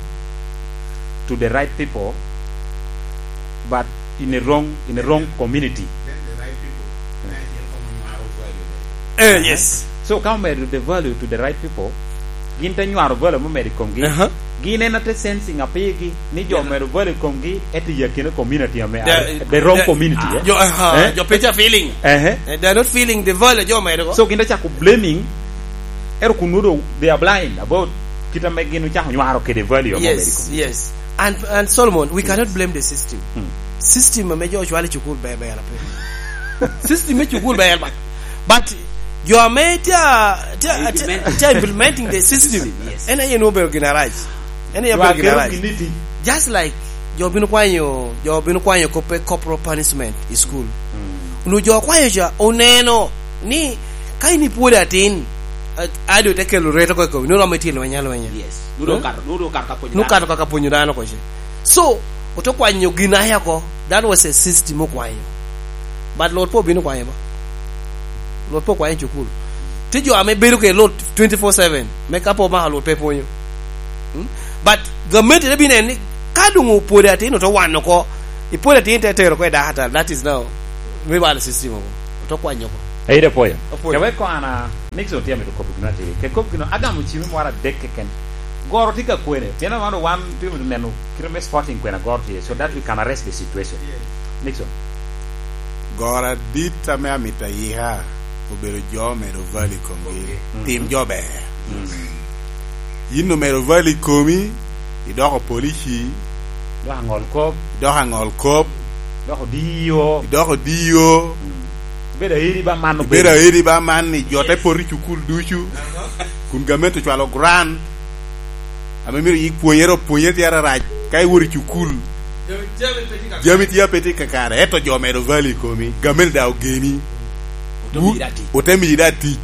to the right people, but in a wrong, in a wrong community. Then the right people, eh, yes. So, ka omedo the value to the right people, gin te nywaro value mo medo i komgi. Aha. Gin en ate sensing apigi ni jo medo value i komgi, ete i akine community ame the, the wrong the, community, eh? Jo, aha, eh? Jo pe tye feeling. Eh, eh. Eh, they are not feeling the value jo medo go. So, gin te cako blaming, ero kun nwodo they are blind about kit ame gin ocako nywaro kede value mo medo i komgi. Yes, yes. And, and Solomon, we cannot blame the system. Hmm. System ame jo ocwalo i cukul ber, ber ape. System me cukul ber, but, but jo ame tye, tye, tye, implementing the system, yes, en aye nwoŋo obedo gin arac. En aye obedo gin arac. Just like jo bino kwanyo, jo bino kwanyo koppe corporal punishment i school. Mm. Onwoŋo jo okwanyo ca oneno ni ka in ipwod atin, a-, ado te kelo reto oko i komi, nwoŋo romo itye lweny alwenya. Yes. Nwoŋo, eh? Okato, nwoŋo okato ka pwonyo dano. Nwoŋo okato ka pwonyo dano oko ce. So, ote kwanyo gin aye oko. That was a system okwanyo. But Lord pe obino kwanyo ba. Lord pe okwanyo i cukul. Tye jo ame bedo kede Lord twenty-four seven. Me ka pe omako Lord pe pwonyo. Hmm? But gamente te bino en ni, ka doŋ opwodo atin, oto wano oko, ipwodo atin te tero oko i dakatal, that is now, me balo system oko, oto kwanyo oko. Ayi, apwoyo. Apwoyo. Ka wek kona, Nixon tye amito kop gino atye. Ke kop gino, agamo cimi mwara adek keken. Goro tye ka kwene. Pien wan, wan tye amito neno kite me spotting kwena goro tye, so that we can arrest the situation. Nixon. Goro adit ame amito ayika obedo jo medo value i komgi. Mhm. Tim jo ber. Mm. Yin omero value i komi, idoko polici, idoko aŋol kop, idoko aŋol kop, idoko diyo, idoko diyo. Mm. Ibedo aeri ba man, ibedo aeri ba man, ni jo te poto i cukul ducu, kun gamente ocwalo grant, ame myero yik pwonyere opwonyere tye ararac, ka iwot i cukul, jami tye ape tye kakare, ento jo medo value i komi, gamente daŋ ogeni. Ote miyi daŋ tic. Ote miyi daŋ tic.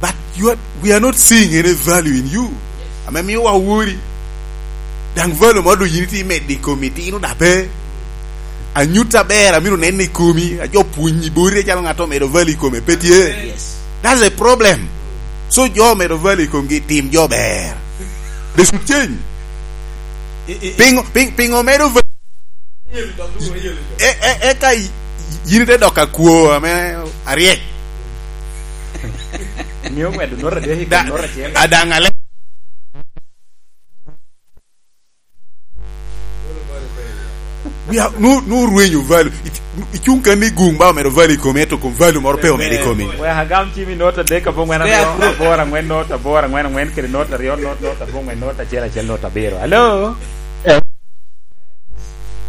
But you are, we are not seeing any value in you. Ame mio wa wori. Daŋ value moro doŋ yin itye imedo i komi, itino daŋ pe. Anyut aber amito neno i komi, a jo pwonyi boti acalo ŋat omedo value i kome, pe tye. Yes. That's a problem. So jo omedo value i komgi, tim jo ber. They should change. I, i, i- Pingo, ping, pingo medo value? E, e, e ka y-, yin ite dok akwo ame aryek. Miyo medo nota adek i kom nota acel. Adaŋ ale. We are, nu, nu rwenyo value. Ic-, icuŋ kan ni guŋ ba omedo value i komi, ento kom value moro pe omedo i komi. Wek agam cim i nota adek, abongwen aryo, aboro angwen, nota aboro angwen angwen, kede nota aryo, nota, nota abongwen, nota acel acel, nota abiro. Hello? Eh.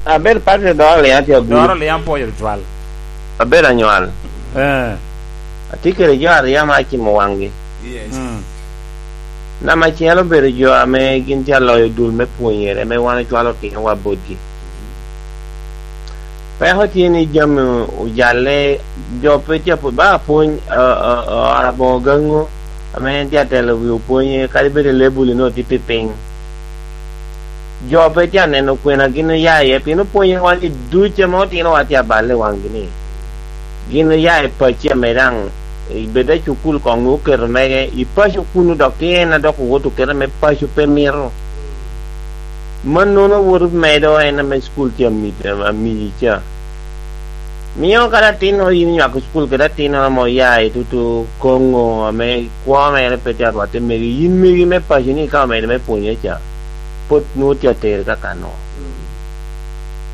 Aber Patrick Doro Lian tye agulu. Doro Lian pwoyo tutwal. Aber anywal. Eh. Atye kede jo aryo ame acimo waŋgi. Yes. Mm. Namba acel obedo jo ame gin tye aloyo dul me pwonyere, ame wan ocwalo otinowa botgi. Peko tye ni jami ojalle, jo pe tye apwony, ba apwony, a, a, a, ora boŋo gaŋo, ame en tye atelo wi opwonye, kadi bed i lebul inoo tye pi piny. Jo pe tye aneno kwena gin oya iye, pien opwonyowa ni duc ame otinowa tye aballe i waŋgi ni, gin oya i paco ame daŋ, i bed i cukul koŋ nwoŋo oketo mege, i paco kunu dok tye en a dok owot oketo me paco pe mito. Mannono woto medo en ame cukul tye ami-, amiyi ca. Mio kadi atinno yin inywako cukul kede atinno ame oya i tutu koŋo ame kwo mere pe tye arwatte megi, yin megi me paco ni ka omedo me pwonye ca, pwod nwoŋo tye atere ka kano.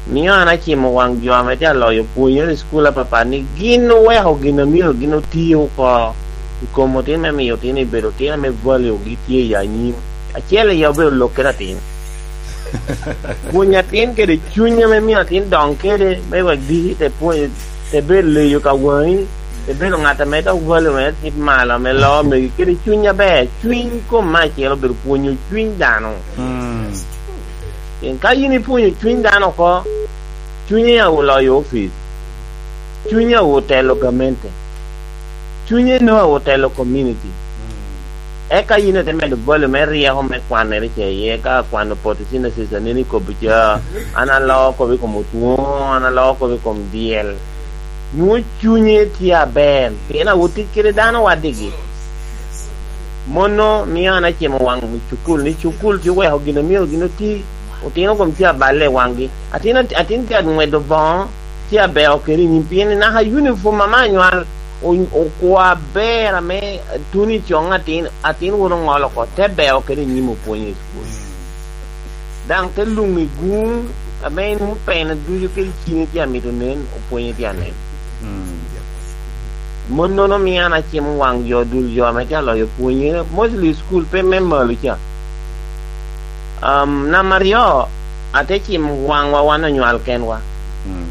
Mio an acimo waŋ jo ame tye aloyo pwonyere i cukul apapat ni gin oweko gin a myero gin oti oko i kom otin me miyo otin ibedo otin ame value gi tye i anyim. Acel i obedo lok kede atin. Pwony atin kede cuny ame mio atin doŋ kede, me wek diki te pwony, te bedo leyo ka waŋi, te bedo ŋat ame dok value mere tye malo, ame loo megi kede cuny aber. Cuny kom me acel obedo pwonyo cuny dano. Mm. Pien ka yin ipwonyo cuny dano oko, cunye a oloyo opic, cunye a otelo gamente, cunye noo a otelo community. Eka yin ite medo volume me ryeko me kwanere ce iye, ka kwano photosynthesis aneni kobo ca, an aloo kobo i kom otwongo, an aloo kobo i kom dyel. Nwoŋo cunye tye aber, pien awotic kede dano waddigi. Mono mio an acimo waŋ cukul, ni cukul tye oweko gin a myero gin oti, otino kom tye aballe i waŋgi. Atin, atin tye angwedo boŋo, tye abeo kede i nyim, pien naka uniform ame anywal o-, okwo aber ame tuno i coŋ atin, atin woto oŋolo oko, te beo kede i nyim opwonyo i cukul. Daŋ te luŋ i guŋ, ame en opene ducu kede cine tye amito nen, opwonye tye anen. Mm. Monnono mio an acimo waŋ jo dul jo ame tye aloyo pwonyere, mostly i cukul pe me malo ca. Um, namba aryo, ate cimo waŋwa wan onywal kenwa. Mm.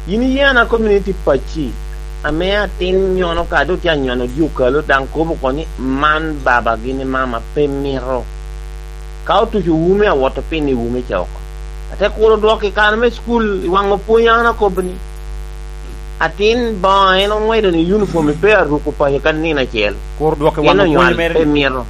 Yin iye an a community pacci, ame atin nyono ka doŋ tye anyono dye okalo, daŋ kobo oko ni, "Man babagi ni mama pe mito." Ka otuco wume, awoto piny i wume ca oko. Ate kuro dwoko i kare me cukul, i waŋ opwony an akobo ni, "Atin boŋo en oŋwedo ni uniform pe aruko paco ka nino acel." Kur dwoko i waŋ opwony mere pe ni mito.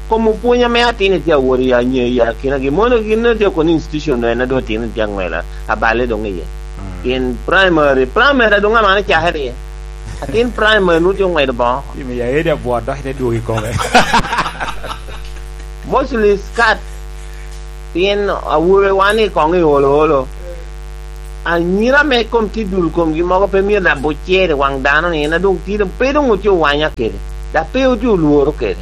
Kom opwony ame atin tye awot i anye-, i akinagi. Mono gin a tye kono institution en a doŋ atin tye aŋwela, aballe doŋ iye. Mm. Pien primary, primary a doŋ amano cakere iye. Atin primary nwoŋo tye oŋwedo boŋo. Imiyo aedi abwot dok ite dwogo i kome. Mostly skat, pien awobe wan i koŋ i olo olo. Anyira me kom tye dul komgi mogo pe myero dabo cer i waŋ dano ni en adwoŋ tye, pe doŋ otye owanya kede, dok pe otye olworo kede.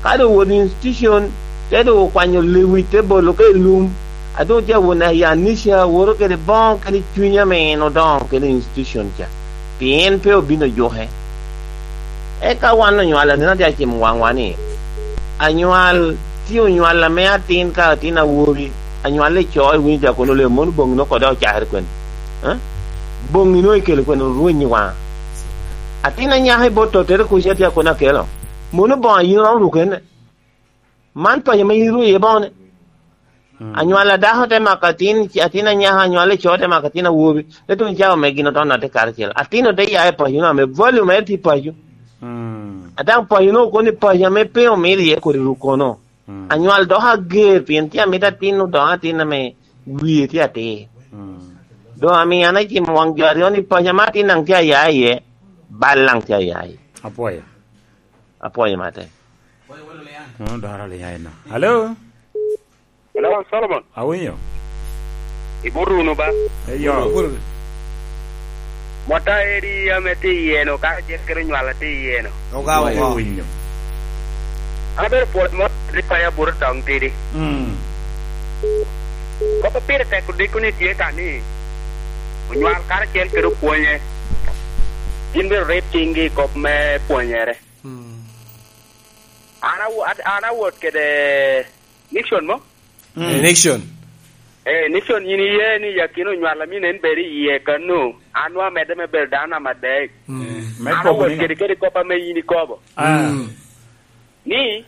Ka doŋ owoto i institution, te doŋ okwanyo lewic te bolo ka i lum, a doŋ tye awot i anisha, woto kede boŋo kede cuny ame en odoŋo kede i institution ca, pien pe obino juke. Eka wan onywalo, aneno tye acimo waŋwa ni, anywal tye onywal ame atin ka atin awobi, anywal i co iwinyo tye akono leo, mono boŋino kode ocakere kwene? Eh? Boŋino ikelo kwene orwenyi waŋa? Atin anyaka i bot tottere kuca tye akono akelo, mono boŋo a yin iromo ruko ene? Man paco ame yin irwo iye boŋone. Mm. Anywal a dako te mako atin, atin anyaka, anywal i co te mako atin awobi, te tuŋ cawa me gin oto nat i karacel. Atin ote ya i paco no ame volume aye tye i paco. Mm. A daŋ paco no okono i paco ame pe omito iye kodi ruk kono. Mm. Anywal dok ager pien tye amito atin odoko atin ame wie tye atir. Mm. Doŋ amio an acimo waŋ jo aryo ni paco ame atin daŋ tye aya iye, bal daŋ tye aya iye. Apwoyo. Apwoyo matek. Kono doro liya eno. Hello? Hello, Solomon. Awinyo. Ibut wunu ba? Eyo. Mota eri ame tye iye-nu, ka acel kede onywal atye iye-nu. Oga, oga. Awinyo. An abedo pwod mot rik pa abuto toŋ tidi. Mm. Kop a pire tek odiko ni tye ka ni, onywal karacel kede opwonye, gin myero rib ciŋgi i kop me pwonyere. Mm. An awo-, an, an awot kede Nixon mo? Mm. Eh, Nixon. Eh, Nixon, yin iye ni yakino onywal a min en bedo iye kano, an nwa amedde me bedo dano namba adek. Mm. Me An kobo awot ni kede, kede kop ame yin ikobo. Ah. Mm. Ni,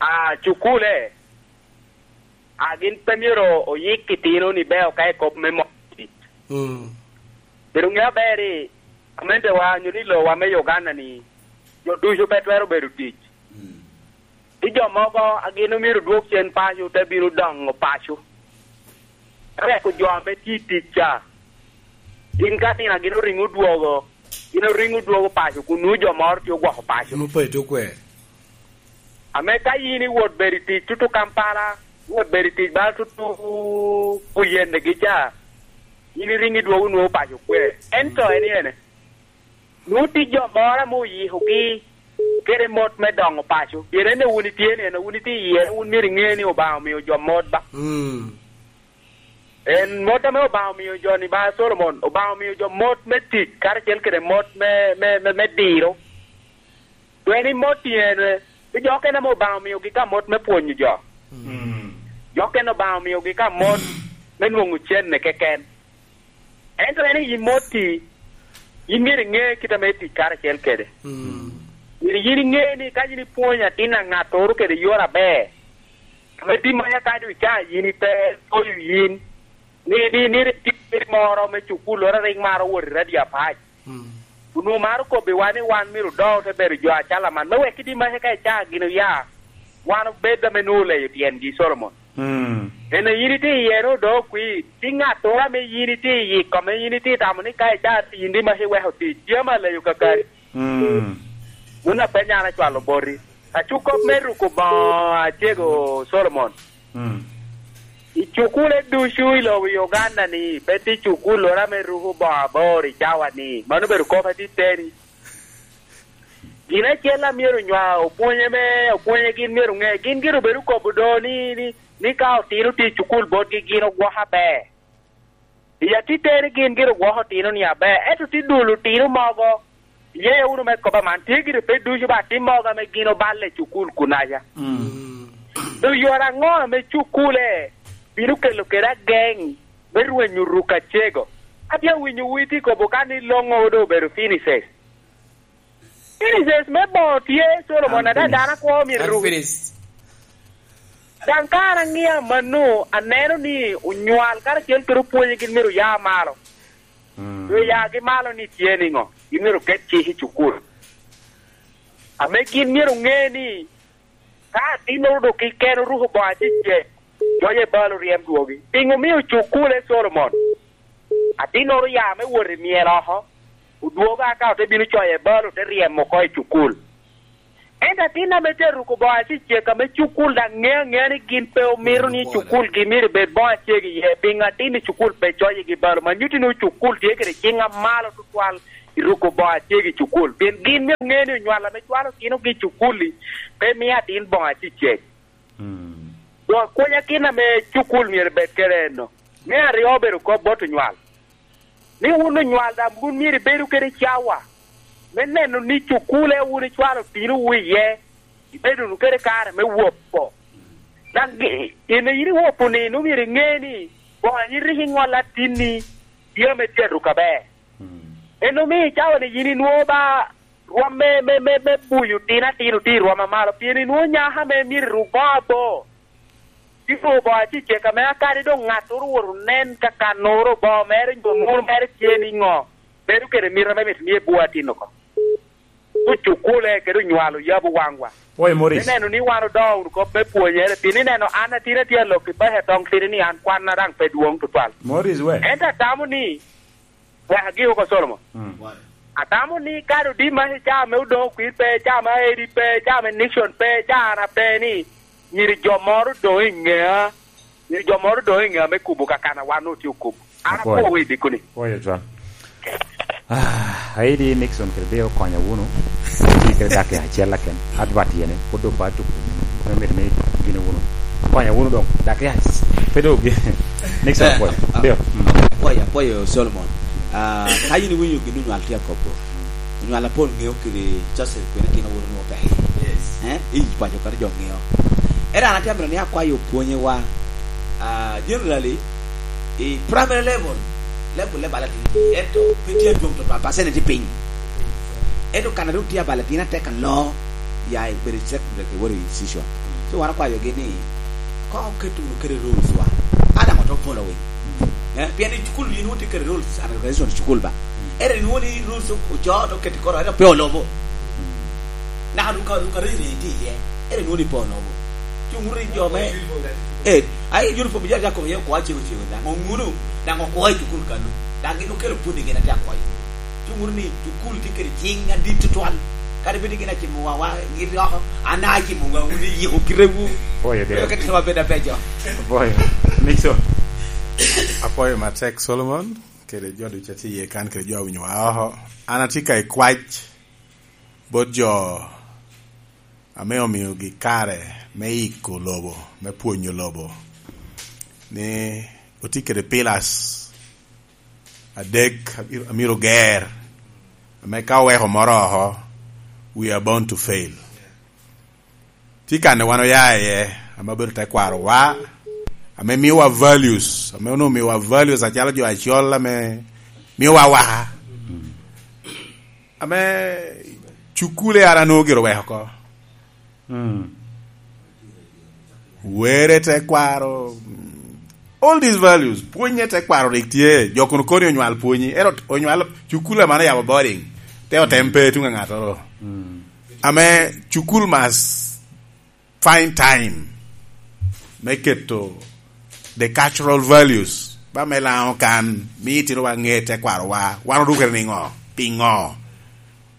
ah, cukule, a gin pe myero oyik itino ni beo ka i kop me mo tic. Mm. Pero ŋe aber ni, amentewa nyo ni lowa me Uganda ni, jo ducu pe twero bedo tic. Mm. Ti jo mogo a gin omyero dwog cen paco te bino doŋo paco. Eweko jo ame tye i tic ca, gin ka nino a gin oriŋo odwogo, gin oriŋo odwogo paco, kun nwoŋo jo moro tye ogwoko paco. Nwoŋo pe tye okwer. Ame ka yin iwot bedo i tic tutu Kampala, iwot bedo i tic bala tutu Buyende gi ca, yin iriŋo idwogo nwoŋo paco kwe. Ento en ene, nwoŋo tye jo moro ame oyikogi kede mot me doŋo paco. Pien en wun itye ni, en wun itye iye, wun myero iŋe ni Obaŋa omio jo mot ba. Mm. En mot ame Obaŋa omio jo ni ba, Solomon, Obaŋa omio jo mot me tic karacel kede mot me, me, me, me diro. Doŋ en i mot tyen, eh, pi jo okene ame Obaŋa omiogi ka mot me pwonyo jo. Mm. Jo okene Obaŋa omiogi ka mot me nwoŋo cenne keken. Ento en i mot-ti, yin myero iŋe kit ame itic karacel kede. Mm. Myero yin iŋe ni ka yin ipwonyo atin a ŋattoro kede yore aber, ame tye manya ka doŋ ica yin ite toyo yin, ni, ni, ni rik tye moro me cukulloro a rik maro wot i radio apac. Mm. Onwoŋo maro kobbiwa ni wan myero odo te bedo jo acalo man, me wek kidi maca ka icaa gin oya, wan obed ame nwoŋo oleyo tyengi, Solomon. Mm. En a yin itye iye ni odo okwi, ti ŋattoro ame yin itye i yiko, ame yin itye tamo ni ka icaa yin di maca iweko tic, tye ame aleyo kakari. Mm. Wun apenyo an acwalo boti. Acuk kop me ruko boŋo acego, Solomon. Mm. I cukule ducu i lobo Uganda-ni, pe tye cukulloro ame ruko boŋo abor i cawa-ni. Mano obedo kop atiteni. Gin acel a myero nywa opwonye me, opwonye gin myero ŋe. Gin gire obedo kobo do ni, ni, ni ka otino tye i cukul botgi, gin ogwoko aber. I atiteni gin gire ogwoko otino-ni aber, ento tye dul otino mogo, iyeya wunu me kop aman, tye gire pe ducu ba atin mogo ame gin oballe i cukul kunaca. Mm. Doŋ yore aŋo ame cukule bino kelo kede ageŋ me rwenyo ruk acego? Atye awinyo wu itye kobo ka ni loŋo doŋ obedo finishes. Finishes me boŋo tye, Solomon, ada dano akwo myero ru. Unfinished. Daŋ ka an aŋeo amanno, aneno ni onywal karacel kede opwonye gin myero oya malo. Mm. Doŋ yagi malo ni tye niŋo? Gin myero oket cik i cukul. Ame gin myero oŋe ni ka atinnoro doŋ keken oruko boŋo acecek, coc e bal oryem dwogi. Piŋo omio cukule, Solomon? Atinnoro oya me wot i myel oko, odwogo aka ote bino coyo e bal, ote ryemo oko i cukul. Ento atin ame tye aruko boŋo acecek ame cukul daŋ ŋeo aŋea ni gin pe omito ni cukul gin myero ebed boŋo acek iye, piŋo atin i cukul pe coyigi balo? Ma nyutti ni cukul tye kede ciŋ amalo tutwal i ruko boŋo acek i cukul, pien gin myero ŋe ni onywal ame cwalo otinogi i cukul-li pe mio atin boŋo acecek. Mm. Doŋ akwanya gin ame cukul myero ebed kede eno. Me aryo obedo kop bot onywal, ni wun onywal daŋ wun myero ibedu kede cawa me neno ni cukule wun icwalo otinowu iye, ibedo wunu kede kare me wopo. Daŋ gi-, in a yin iwopo-ni, nwoŋo myero iŋe ni boŋo a yin rik iŋolo atinni tye ame tye aruko aber. Mm. En omio i cawa-ni yin inwoŋo ba rwom me, me, me, me buyo tin atin otye i rwom amalo, pien inwoŋo nyako ame myero iruk boŋo abor. Tye ruu boŋo acecek ame akadi doŋ ŋattoro owoto onen ka kannoro boŋo mere nyo munu mere tye niŋo, bedo kede mito ame mito ni ebwo atin oko. Ocukule kede onywalo yabo waŋwa. Pwoyo Morris. Me neno ni wan odoŋo wunu kop me pwonyere, pien ineno an atin atye alok i peke toŋ tidi ni an kwanna daŋ pe dwoŋ tutwal. Morris we? Ento atamo ni wek agik oko, Solomon. Mm. Atamo ni kadi odima i caa me Odoŋo Kwir pe, caa me Aedi pe, caa me Nixon pe, caa na pe ni, myero jo moro odoŋ i ŋea, myero jo moro odoŋ i ŋea me kubo kakana wan otye okubo. An apwoyo i dikoni. Pwoyo cwa. Ah, Aedi, Nixon kede Deo, okonya wunu. Atye kede dakika acel aken. Advert yene, pwod doŋ pe atuko. Me mito ni gine wunu. Okonya wunu doŋ. Dakika pe doŋ gi-, Nixon, eh, apwoyo. Ah, Deo. Mm. Apwoyo, apwoyo Solomon. Ah, ka yin iwinyo gin onywal tye akobo, onywal apol ŋeo kede Joseph kwene tino wunu nwoŋo peke. Yes. Eh? I paco kadi jo ŋeo. Era an atye amito ni akwayo opwonyewa, ah, generally, i primary level, level le bala tye, ento pe tye adwoŋ tutwal, percentage tye piny. Ento kan a rik tye abala tyen atek aloo, ya bedo i secondary ke woro i institution. So wan okwayogi ni, koŋ oket wunu kede rules wa. A daŋ oto following. Eh, pien i cukul yin wun tye kede rules and organization i cukul ba. Ere ni wun i rules ocoo to keti koro, ento pe olobo. Naka duka, duka riri tye iye. Ere ni wun i pe olobo. Cung wunu i jo me, eh, ai uniform jal jako ye okwa cego cego. Daŋ oŋunu, daŋ okwa i cukul kanu. Daŋ gin okelo puni gin ate akwayo. Cung wunu ni cukul tye kede ciŋ adit tutwal. Kadi bed ni gin acimo wa, wa, gin oko, an acimo wa, wun iyiko kitewu. Boyo de. Wek oketwa bed abeco. Boyo. Nixon. Apwoyo matek, Solomon, kede jo ducu a tye iye kan, kede jo a winyo wa oko. An atye ka i kwac bot jo ame omiogi kare me iko lobo, me pwonyo lobo, ni otye kede pillars adek a myero, a myero ger, ame ka oweko moro oko, we are bound to fail. Tye kan wan oya iye, ame obedo tekwarowa, ame miowa values, ame onwoŋo miowa values acalo jo acol ame miowa awaka. Ame cukule ara nwoŋo gire oweko oko. Mm. Were, tekwaro, all these values, pwonye tekwaro rik tye, jo kono koni onywal pwonyi, ero onywal cukula man oyabo boarding, te otem pe tuŋ a ŋattoro. Mm. Ame cukul must find time me keto the cultural values, ba me Laŋo kan, mi itinowa ŋe tekwarowa, wan orukere niŋo, piŋo?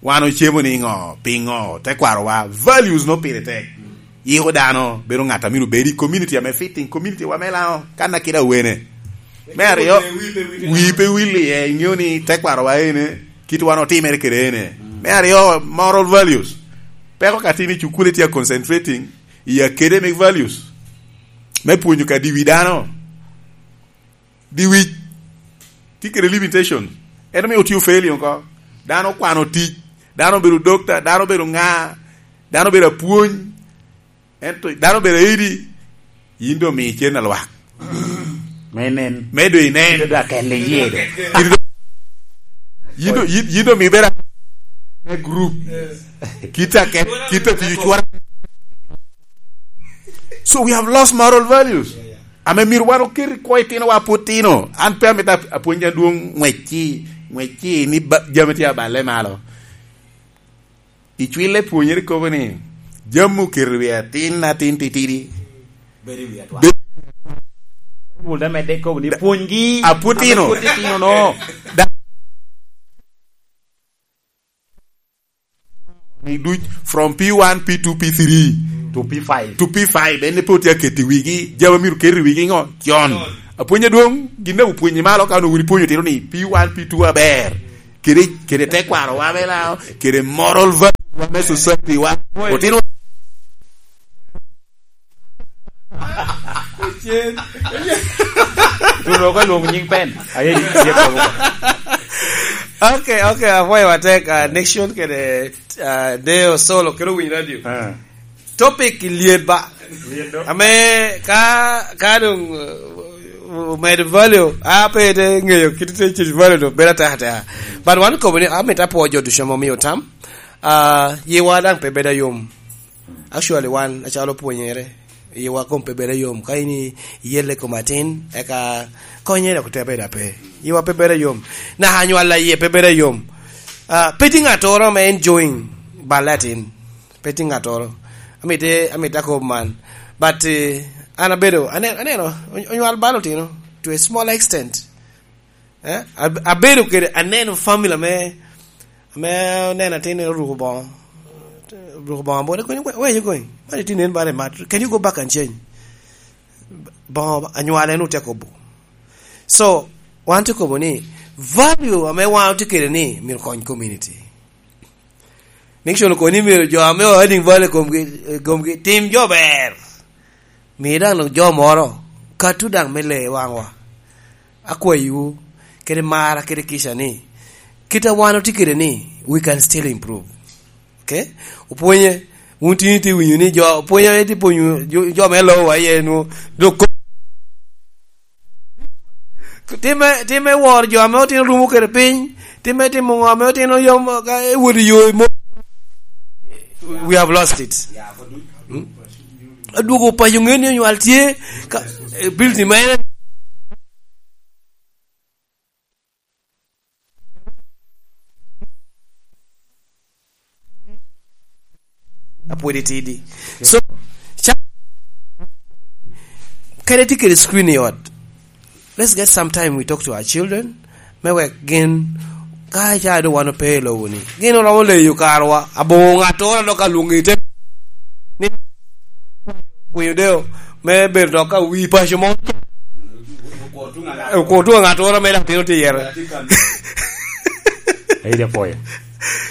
Wan ocemo niŋo? Piŋo? Tekwarowa, values no pire tek. Yiko dano bedo ŋat a myero obed i community ame fitting community wa me Laŋo, kan a kite awene. Me aryo, wi pe wil iye, iŋeo ni tekwarowa ene, kit wan otimere kede ene. Me aryo, moral values. Peko ka tin i cukul itye a concentrating i academic values, me pwonyo kadi wi dano. Dyewec tye kede limitation. En omio otye ofeli oko. Dano okwano tic, dano obedo dokta, dano obedo ŋa, dano obedo apwony, ento dano obedo aidi, yin doŋ mi cen a lwak. Me nen. Me doŋ inen. Yin doŋ akel iye do. Yin doŋ, yin, yin doŋ mi bedo me group. Kit a ket, kit a tiyo cwara. So we have lost moral values. Ame myero wan oket i kwo itinowa pwod tino. An pe amito ap-, apwony adwoŋ ŋwec-ci, ŋwec-ci ni ba-, jami tye aballe malo. Icwille pwonyere kobo ni, jami oketo i wi atin, atin titidi. Bedo i wi atwal. Be-, Baibul da medde kobo ni, pwonygi. Apwod tino. Ame pwod tino no. Da- ni duc from P one, P two, P three to P five. To P five, en pe otye aketo i wigi, jami myero ket i wigi ngo? Con. Apwony adwong, gin daŋ opwonyi malo, ka onwoŋo wun ipwonyo otino ni P one, P two aber. Kede, kede tekwaro wa me lao, kede moral value wa me society wa. Otino Tuno ka lwong nying pen. Aye, ye ko. Okay, okay, apwoyo matek, uh, Nixon kede, uh, Deo Solo kede Winy Radio. Ah. Topic lyet ba. Lyet do. Ame ka, ka dong, uh, omedo value, a pe te ngeyo kit te cit value do, bedo ateka ateka. But wan kobo ni, amito apwo jo ducu ame omio tam. Uh, yiwa daŋ pe bedo ayom. Actually, wan acalo pwonyere, yiwa kom pe bedo yom. Ka in iyelle kom atin, eka konye dok te bedo ape. Yiwa pe bedo yom. Naka anywalla iye pe bedo yom. Ah, pe tye ŋattoro ame enjoying balle atin. Pe tye ŋattoro. Amite, amite akob man. But, eh, an abedo, ane-, aneno, on-, onywal bal otino to a small extent. Eh? Ab-, abedo kede, aneno family ame, ame oneno atin oruko boŋo, oruko boŋo abote, koni, "Where, where are you going? Why did you nen bare mat? Can you go back and change?" Boŋo anywale en otye kobo. So, wan tye kobo ni, value ame wan otye kede ni, myero kony community. Nixon okoni myero jo ame o adding value komgi, komgi, tim jo ber. Mi daŋ dok jo moro, katu daŋ me le waŋwa. Akwayiwu, kede mara, kede kica ni, kit a wan otye kede ni, we can still improve. Okay? Opwonye, wun tin itye winyo ni jo, opwonye itye pwonyo jo, jo me lowa iye nu, dok ko-, time, time woro jo ame otino rumo kede piny, time timo ŋo ame otino yom, ka ewot i yo i mo-, we have lost it. Hmm? Adwogo paco ŋe ni onywal tye, ka, eh, building ma en apwod itidi. So, ca-, kede tye kede screen i ot. Let's get some time we talk to our children. Me wek gin, ka ca doŋ wan ope i lobo ni, gin oromo leyo karwa. Aboŋo ŋattoro dok alwoŋo i te ni kwinyo deo me bedo dok ka wi paco mo. Okwo tuŋ a ŋattoro me latin otye yere. Ayi, apwoyo.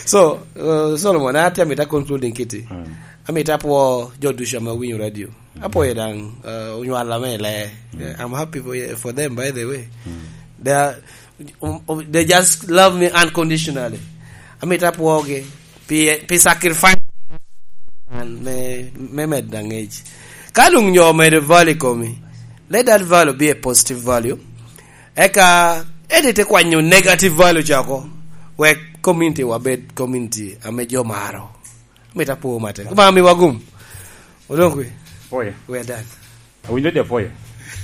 So, uh, Solomon, an atye amito a concluding kiti. Mm. Amito apwo jo ducu ame owinyo radio. Apwoyo daŋ, uh, onywal ame i lee. Mm. I'm happy for, for them, by the way. Mm. They are, um, um, they just love me unconditionally. Amito apwogi pi, pi sacrifice an me, me medo aŋec. Ka luŋ nyo omedo value i komi, let that value be a positive value. Eka, edi te kwanyo negative value ca oko, wek community wa bed community ame jo maro. Mito apwo matek. Obaŋa miwa gum. Odong kwe. Oya. We are done. Awinjo di apwoyo.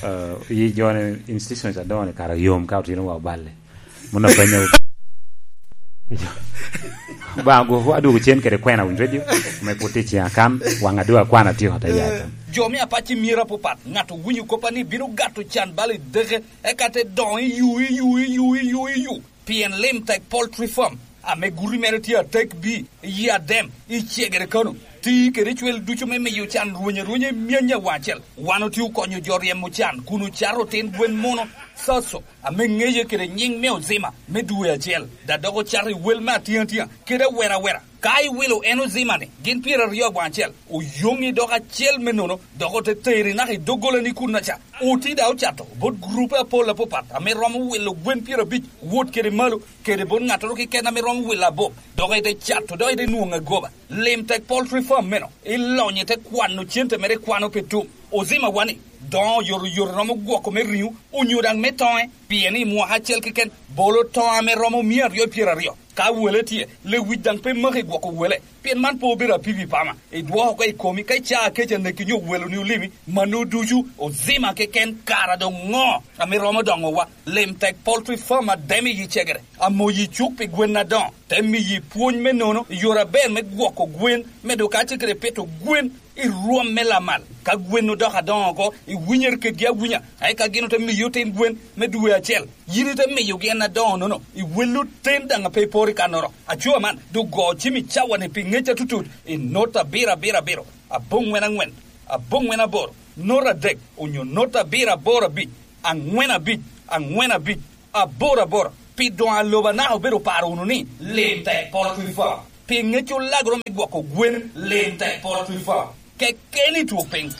Uh, i jo ni institutions adongo ni kara yom ka otino wa oballe. Muno penyo. Ba go adwogo cen kede kwena Winy Radio. Me put i cen akan, waŋ adwogo akwana tio ata yata. Jo me apac i myero apapat, ŋat owinyo kop a ni bino gato can bal i deke, eka te doŋo i yu, i yu, i yu, i yu, i yu. Pien Lim Tek Poultry Farm, ame guti mere tye atek bi, i Adem, i Cegere Kano, ti kede cwel ducu me miyo can rweny arwenya i myany awaŋ acel. Wan otye okonyo jo ryemo can kun ocato otin gwen muno, Saso, ame ŋeye kede nyiŋ me Ozima, me dwe acel, da dok ocato i wel me atiŋatia, kede awera awera. Ka iwilo en Ozima-ni, gin pyeraryo awaŋ acel, oyoŋi dok acel me nono, dok ote teri naka i doggolani kunnaca. Oti da ocato bot gurupe apol apapat ame romo wilo gwen pyerabic wot kede malo, kede bot ŋattoro keken ame romo wilo abop, dok ite cato, dok ite nwoŋo agoba. Lim Tek Poultry Farm meno, ilonyo ite kwano cente mere, kwano pe tum. Ozima wani, doŋo oyotoyot romo gwoko me riŋo, onyo daŋ me toŋe, pien i mwaka acel keken, bolo toŋo ame romo mia aryo pyeraryo. Ka wele tye, lewic daŋ pe maki gwoko wele, pien man pe obedo apipi pama. Idwoko oko i komi, ka icaa kec aneki nyo weloni olimi, mano ducu Ozima keken. Kara doŋ ŋo ame romo doŋowa? Lim Tek Poultry Farm Adem i Cegere, amoyi cuk pi gwen adoŋo, te miyi pwony me nono i yore aber me gwoko gwen, medo kacel kede pito gwen i rwom me lamal. Ka gwen odoko adoŋo oko, iwinyere kedgi awinya, eka gin ote miyi otin gwen me dwe acel. Yin ite miyogi en adoŋo-nono, iwello oten daŋ a pe iporo i kannoro. Acoo man, doŋ go cim i cawa-ni pi ŋec atutut i not abiro abiro abiro, aboŋwen aŋwen, aboŋwen aboro, not adek, onyo not abiro aboro abic, aŋwen abic, aŋwen abic, aboro aboro. Pi doŋ a lobo anaka obedo oparo wunu ni, lim tek polo twi fo. Pi ŋec olagoro me gwoko gwen, lim tek polo twi fo. Kekeni twok piny.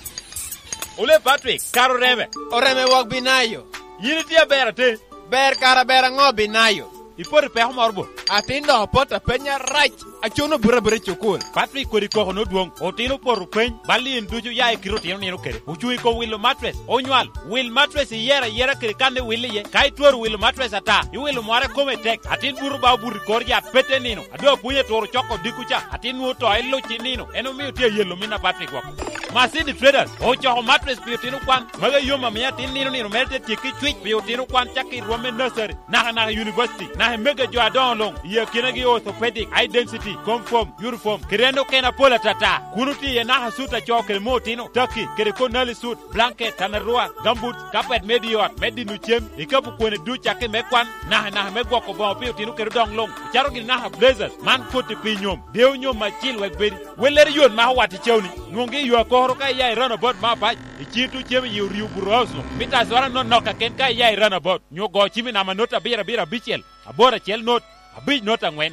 Ole Patrick, kara oreme. Oreme wok Binayo. Yin itye aber ate? Ber kara ber aŋo Binayo? Ipoto i peko moro bo? Atin doŋ opot apenya rac. Acuno buto abuta i cukul. Patrick kodi koko nodwoŋ. Otino opoto peny. Bal in ducu ya i kite otino nino kede. Ocuŋ i kom wilo matres. Onywal. Wil matres iyero ayera kede kan iwil iye. Ka itwero wilo matres ata, iwilo mware kome tek. Atin buto ba obuto i kor yat pete nino. Ado apwony eturo coko dikku ca. Atin nwoŋo to iluc i nino. En omio tye ayelo min a Patrick woko. Masidi Traders ocoko matres pi otino kwan. Magi yom amiyo atin nino nino mere te tyekki cwic pi otino kwan cakki i rwom me nursery. Naka naka i university, naka i mege jo adoŋo luŋ, i akinagi orthopedic, high density, comfort, uniform, kede en okene apol atata. Kun otye iye naka sut a co kede mo otino, taki, kede konali sut, blanket, tanarua, gambut, kapet me di ot, me dino cem, ikapu kwene duc cakki me kwan, naka naka me gwoko boŋo pi otino kede odoŋ luŋ, ocato gini naka blazers, man koti pi nyom, dewo nyom acil wek bedi. Wellere yot mako wat i cawni, nwoŋgi i yo akokoro ka iya i runabout me apac, i cito cem i orio buto house-nu, mita azwara nonok kaken ka iya i runabout. Nyo go cim i namba not abiro abiro abicel, aboro acel not, abic not aŋwen.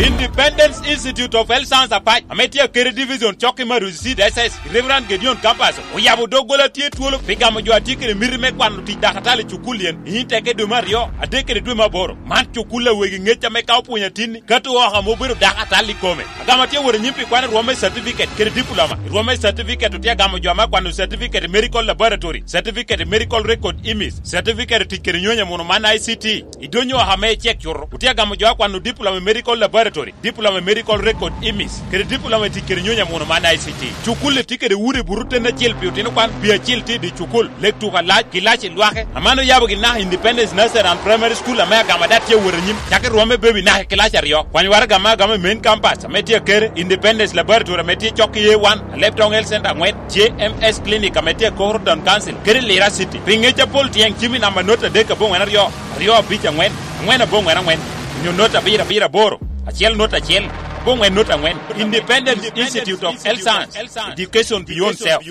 Independence Institute of Health Science Apac, ame tye akede division cok i Maruzi Seed S S, i Reverend Gideon Campus, oyabo doggola tye twolo pi gamo jo a tye kede miti me kwano tic dakatal i cukul yen, i teke dwe me aryo, adek kede dwe me aboro. Man cukul a wegi ŋec ame ka opwonyo atinni, kato oko ame obedo dakatal i kome. Agamo atye wot anyim pi kwano rwom me certificate kede diploma. I rwom me certificate otye agamo jo ame akwano certificate i medical laboratory, certificate i medical record imis, certificate i tic kede nyonyo amuno man I C T. I donyo oko ame icek cuto, otye agamo jo akwano diploma i medical laboratory, diploma i medical record imis, kede diploma i tic kede nyonyo amuno man I C T. Cukul-li tye kede udi buto ten acel pi otino kwan, pi acil tye i dye cukul, lek tuko alac, kilac i lwake. Aman oyabo gin naka Independence Nursery and Primary School ame agamo ada tye awot anyim, cakki rwom me baby naka i kilac aryo. Kwany waraga ame agamo i main campus ame tye akere, Independence Laboratory ame tye cok i A one, Alebtong Health Center aŋwen, J M S Clinic ame tye akokoro Town Council, kede Lira City. Pi ŋec apol tyeŋ cim i namba not adek aboŋwen aryo, aryo abic aŋwen, aŋwen aboŋwen aŋwen, onyo not abiro abiro aboro, acel not acel, aboŋwen not aŋwen. Independence Institute of Health Science, Education Beyond Self.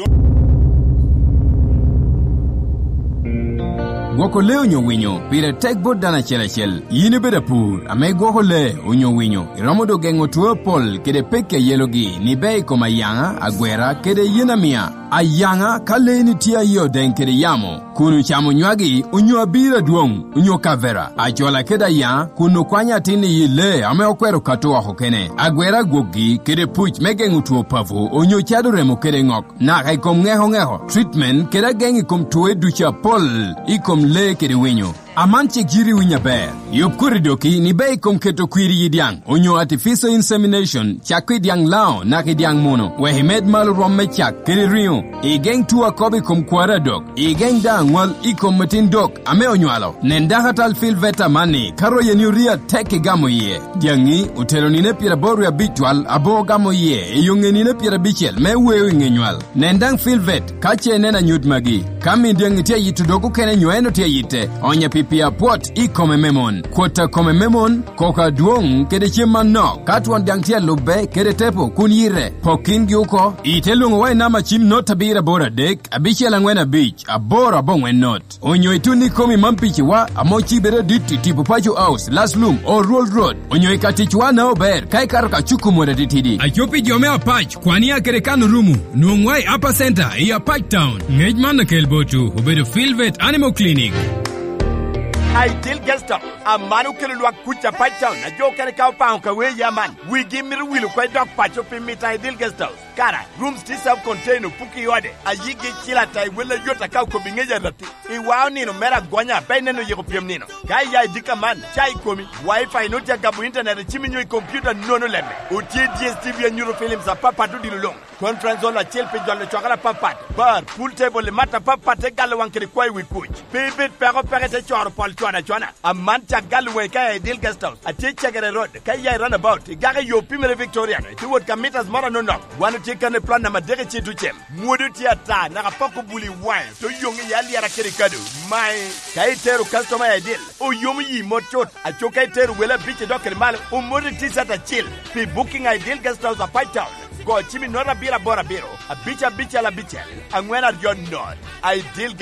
Gwoko lee onyo winyo pire tek bot dano acel acel. Yin ibedo apur ame igwoko lee onyo winyo, iromo dok geŋo two apol kede pekki a yelogi ni ber i kom ayaŋa, agwera, kede yen amia. Ayaŋa, ka leeni tye aye odeŋ kede yamo, kun ocamo nywagi onyo abiro adwoŋ, onyo kavera, acola kede ayaŋa, kun okwanyo atin i lee ame okwero kato oko kene, agwera agwokgi kede puc me geŋo two papo onyo cado remo kede ŋok, naka i kom ŋeko ŋeko, treatment kede ageŋ i kom twoe ducu apol i kom lee kede winyo. Aman cik yiti winyo aber. Yub koti doki ni ber i kom keto kwir i dyaŋ, onyo artificial insemination, cak i dyaŋ Lango naka i dyaŋ Muno, wek imed malo rwom me cak kede riŋo, igeŋ two akobo i kom kwari adok, igeŋ daŋ aŋwal i kom atin dok ame onywalo. Nen dakatal Phil Veta amanni, ka royeni orii atek igamo iye. Dyaŋi otelo nino pyeraboro wie abic twal, aboŋo gamo iye i yo ŋe nino pyerabicel me weo i ŋe nywal. Nen daŋ Phil Vet ka ce ineno anyut magi. Ka min dyaŋi tye ayito dog okene nyo en otye ayitte, onye pi pii apwot i kome me mon. Kwot a kome me mon, koko adwoŋ kede cem manok. Ka twon dyaŋ tye alubbe kede tepo kun yite, pok kingi oko. Ite lwoŋowa i namba cim not abiro aboro adek, abicel aŋwen abic, aboro aboŋwen not. Onyo itun ikomi man piciwa, ame ocibere adit i tipo Paco House, Laslum, Old Road Road. Onyo i ka ticwa na ober, ka ikato ka cuku mot atitidi. Aco pi jo me Apac, kwan i akere kan orumu, nwoŋwa i Upper Center i Apac Town. Ngec man akel botwu, obedo Filvet Animal Clinic. Ideal Guest House, aman okelo lwak kuc Apac Town, a jo okene ka opaŋo ka wee ya man, wigi mito wil oko i dok paco pi mita Ideal Guest House. Kara, rooms tye self contained, opuki i ode, ayigi cil ata i wel ayot aka okobi ŋec arati. Iwao nino mere agonya, pe ineno yiko pyem nino. Ka iya i dika man, ca i komi, Wi-Fi nut ya gabo internet i cimi nyo i computer nono lemme. Otye D S T V anyuto films apapat odilo luŋ. Conference hall acel pi jolo cwakere apapat, bar, pool table i mat apapat te galo waŋ kede kwayo i wi kuc. Pe ibed peko peko ite coro pol con acona. Aman cak galo waŋi ka i Dil Guest House. Atye i Cegere Road, ka iya i Runabout, igako i yo Pimere Victorian, ite wot ka mitas moro anonok. Wan otye kan i plan namba adek i Citucem. Mwodo tye ata, naka poko buli i waŋe, te oyoŋ i alyera kede kado. Mae, ka itero customer i Dil, oyomo yi mot cut. Aco ka itero wele abic idok kede malo, omoti T-shirt acel. Pi booking i Dil Guest House, Apac Town, go cim i note abiro aboro abiro, abic abicel abicel, aŋwen aryo not. I Dil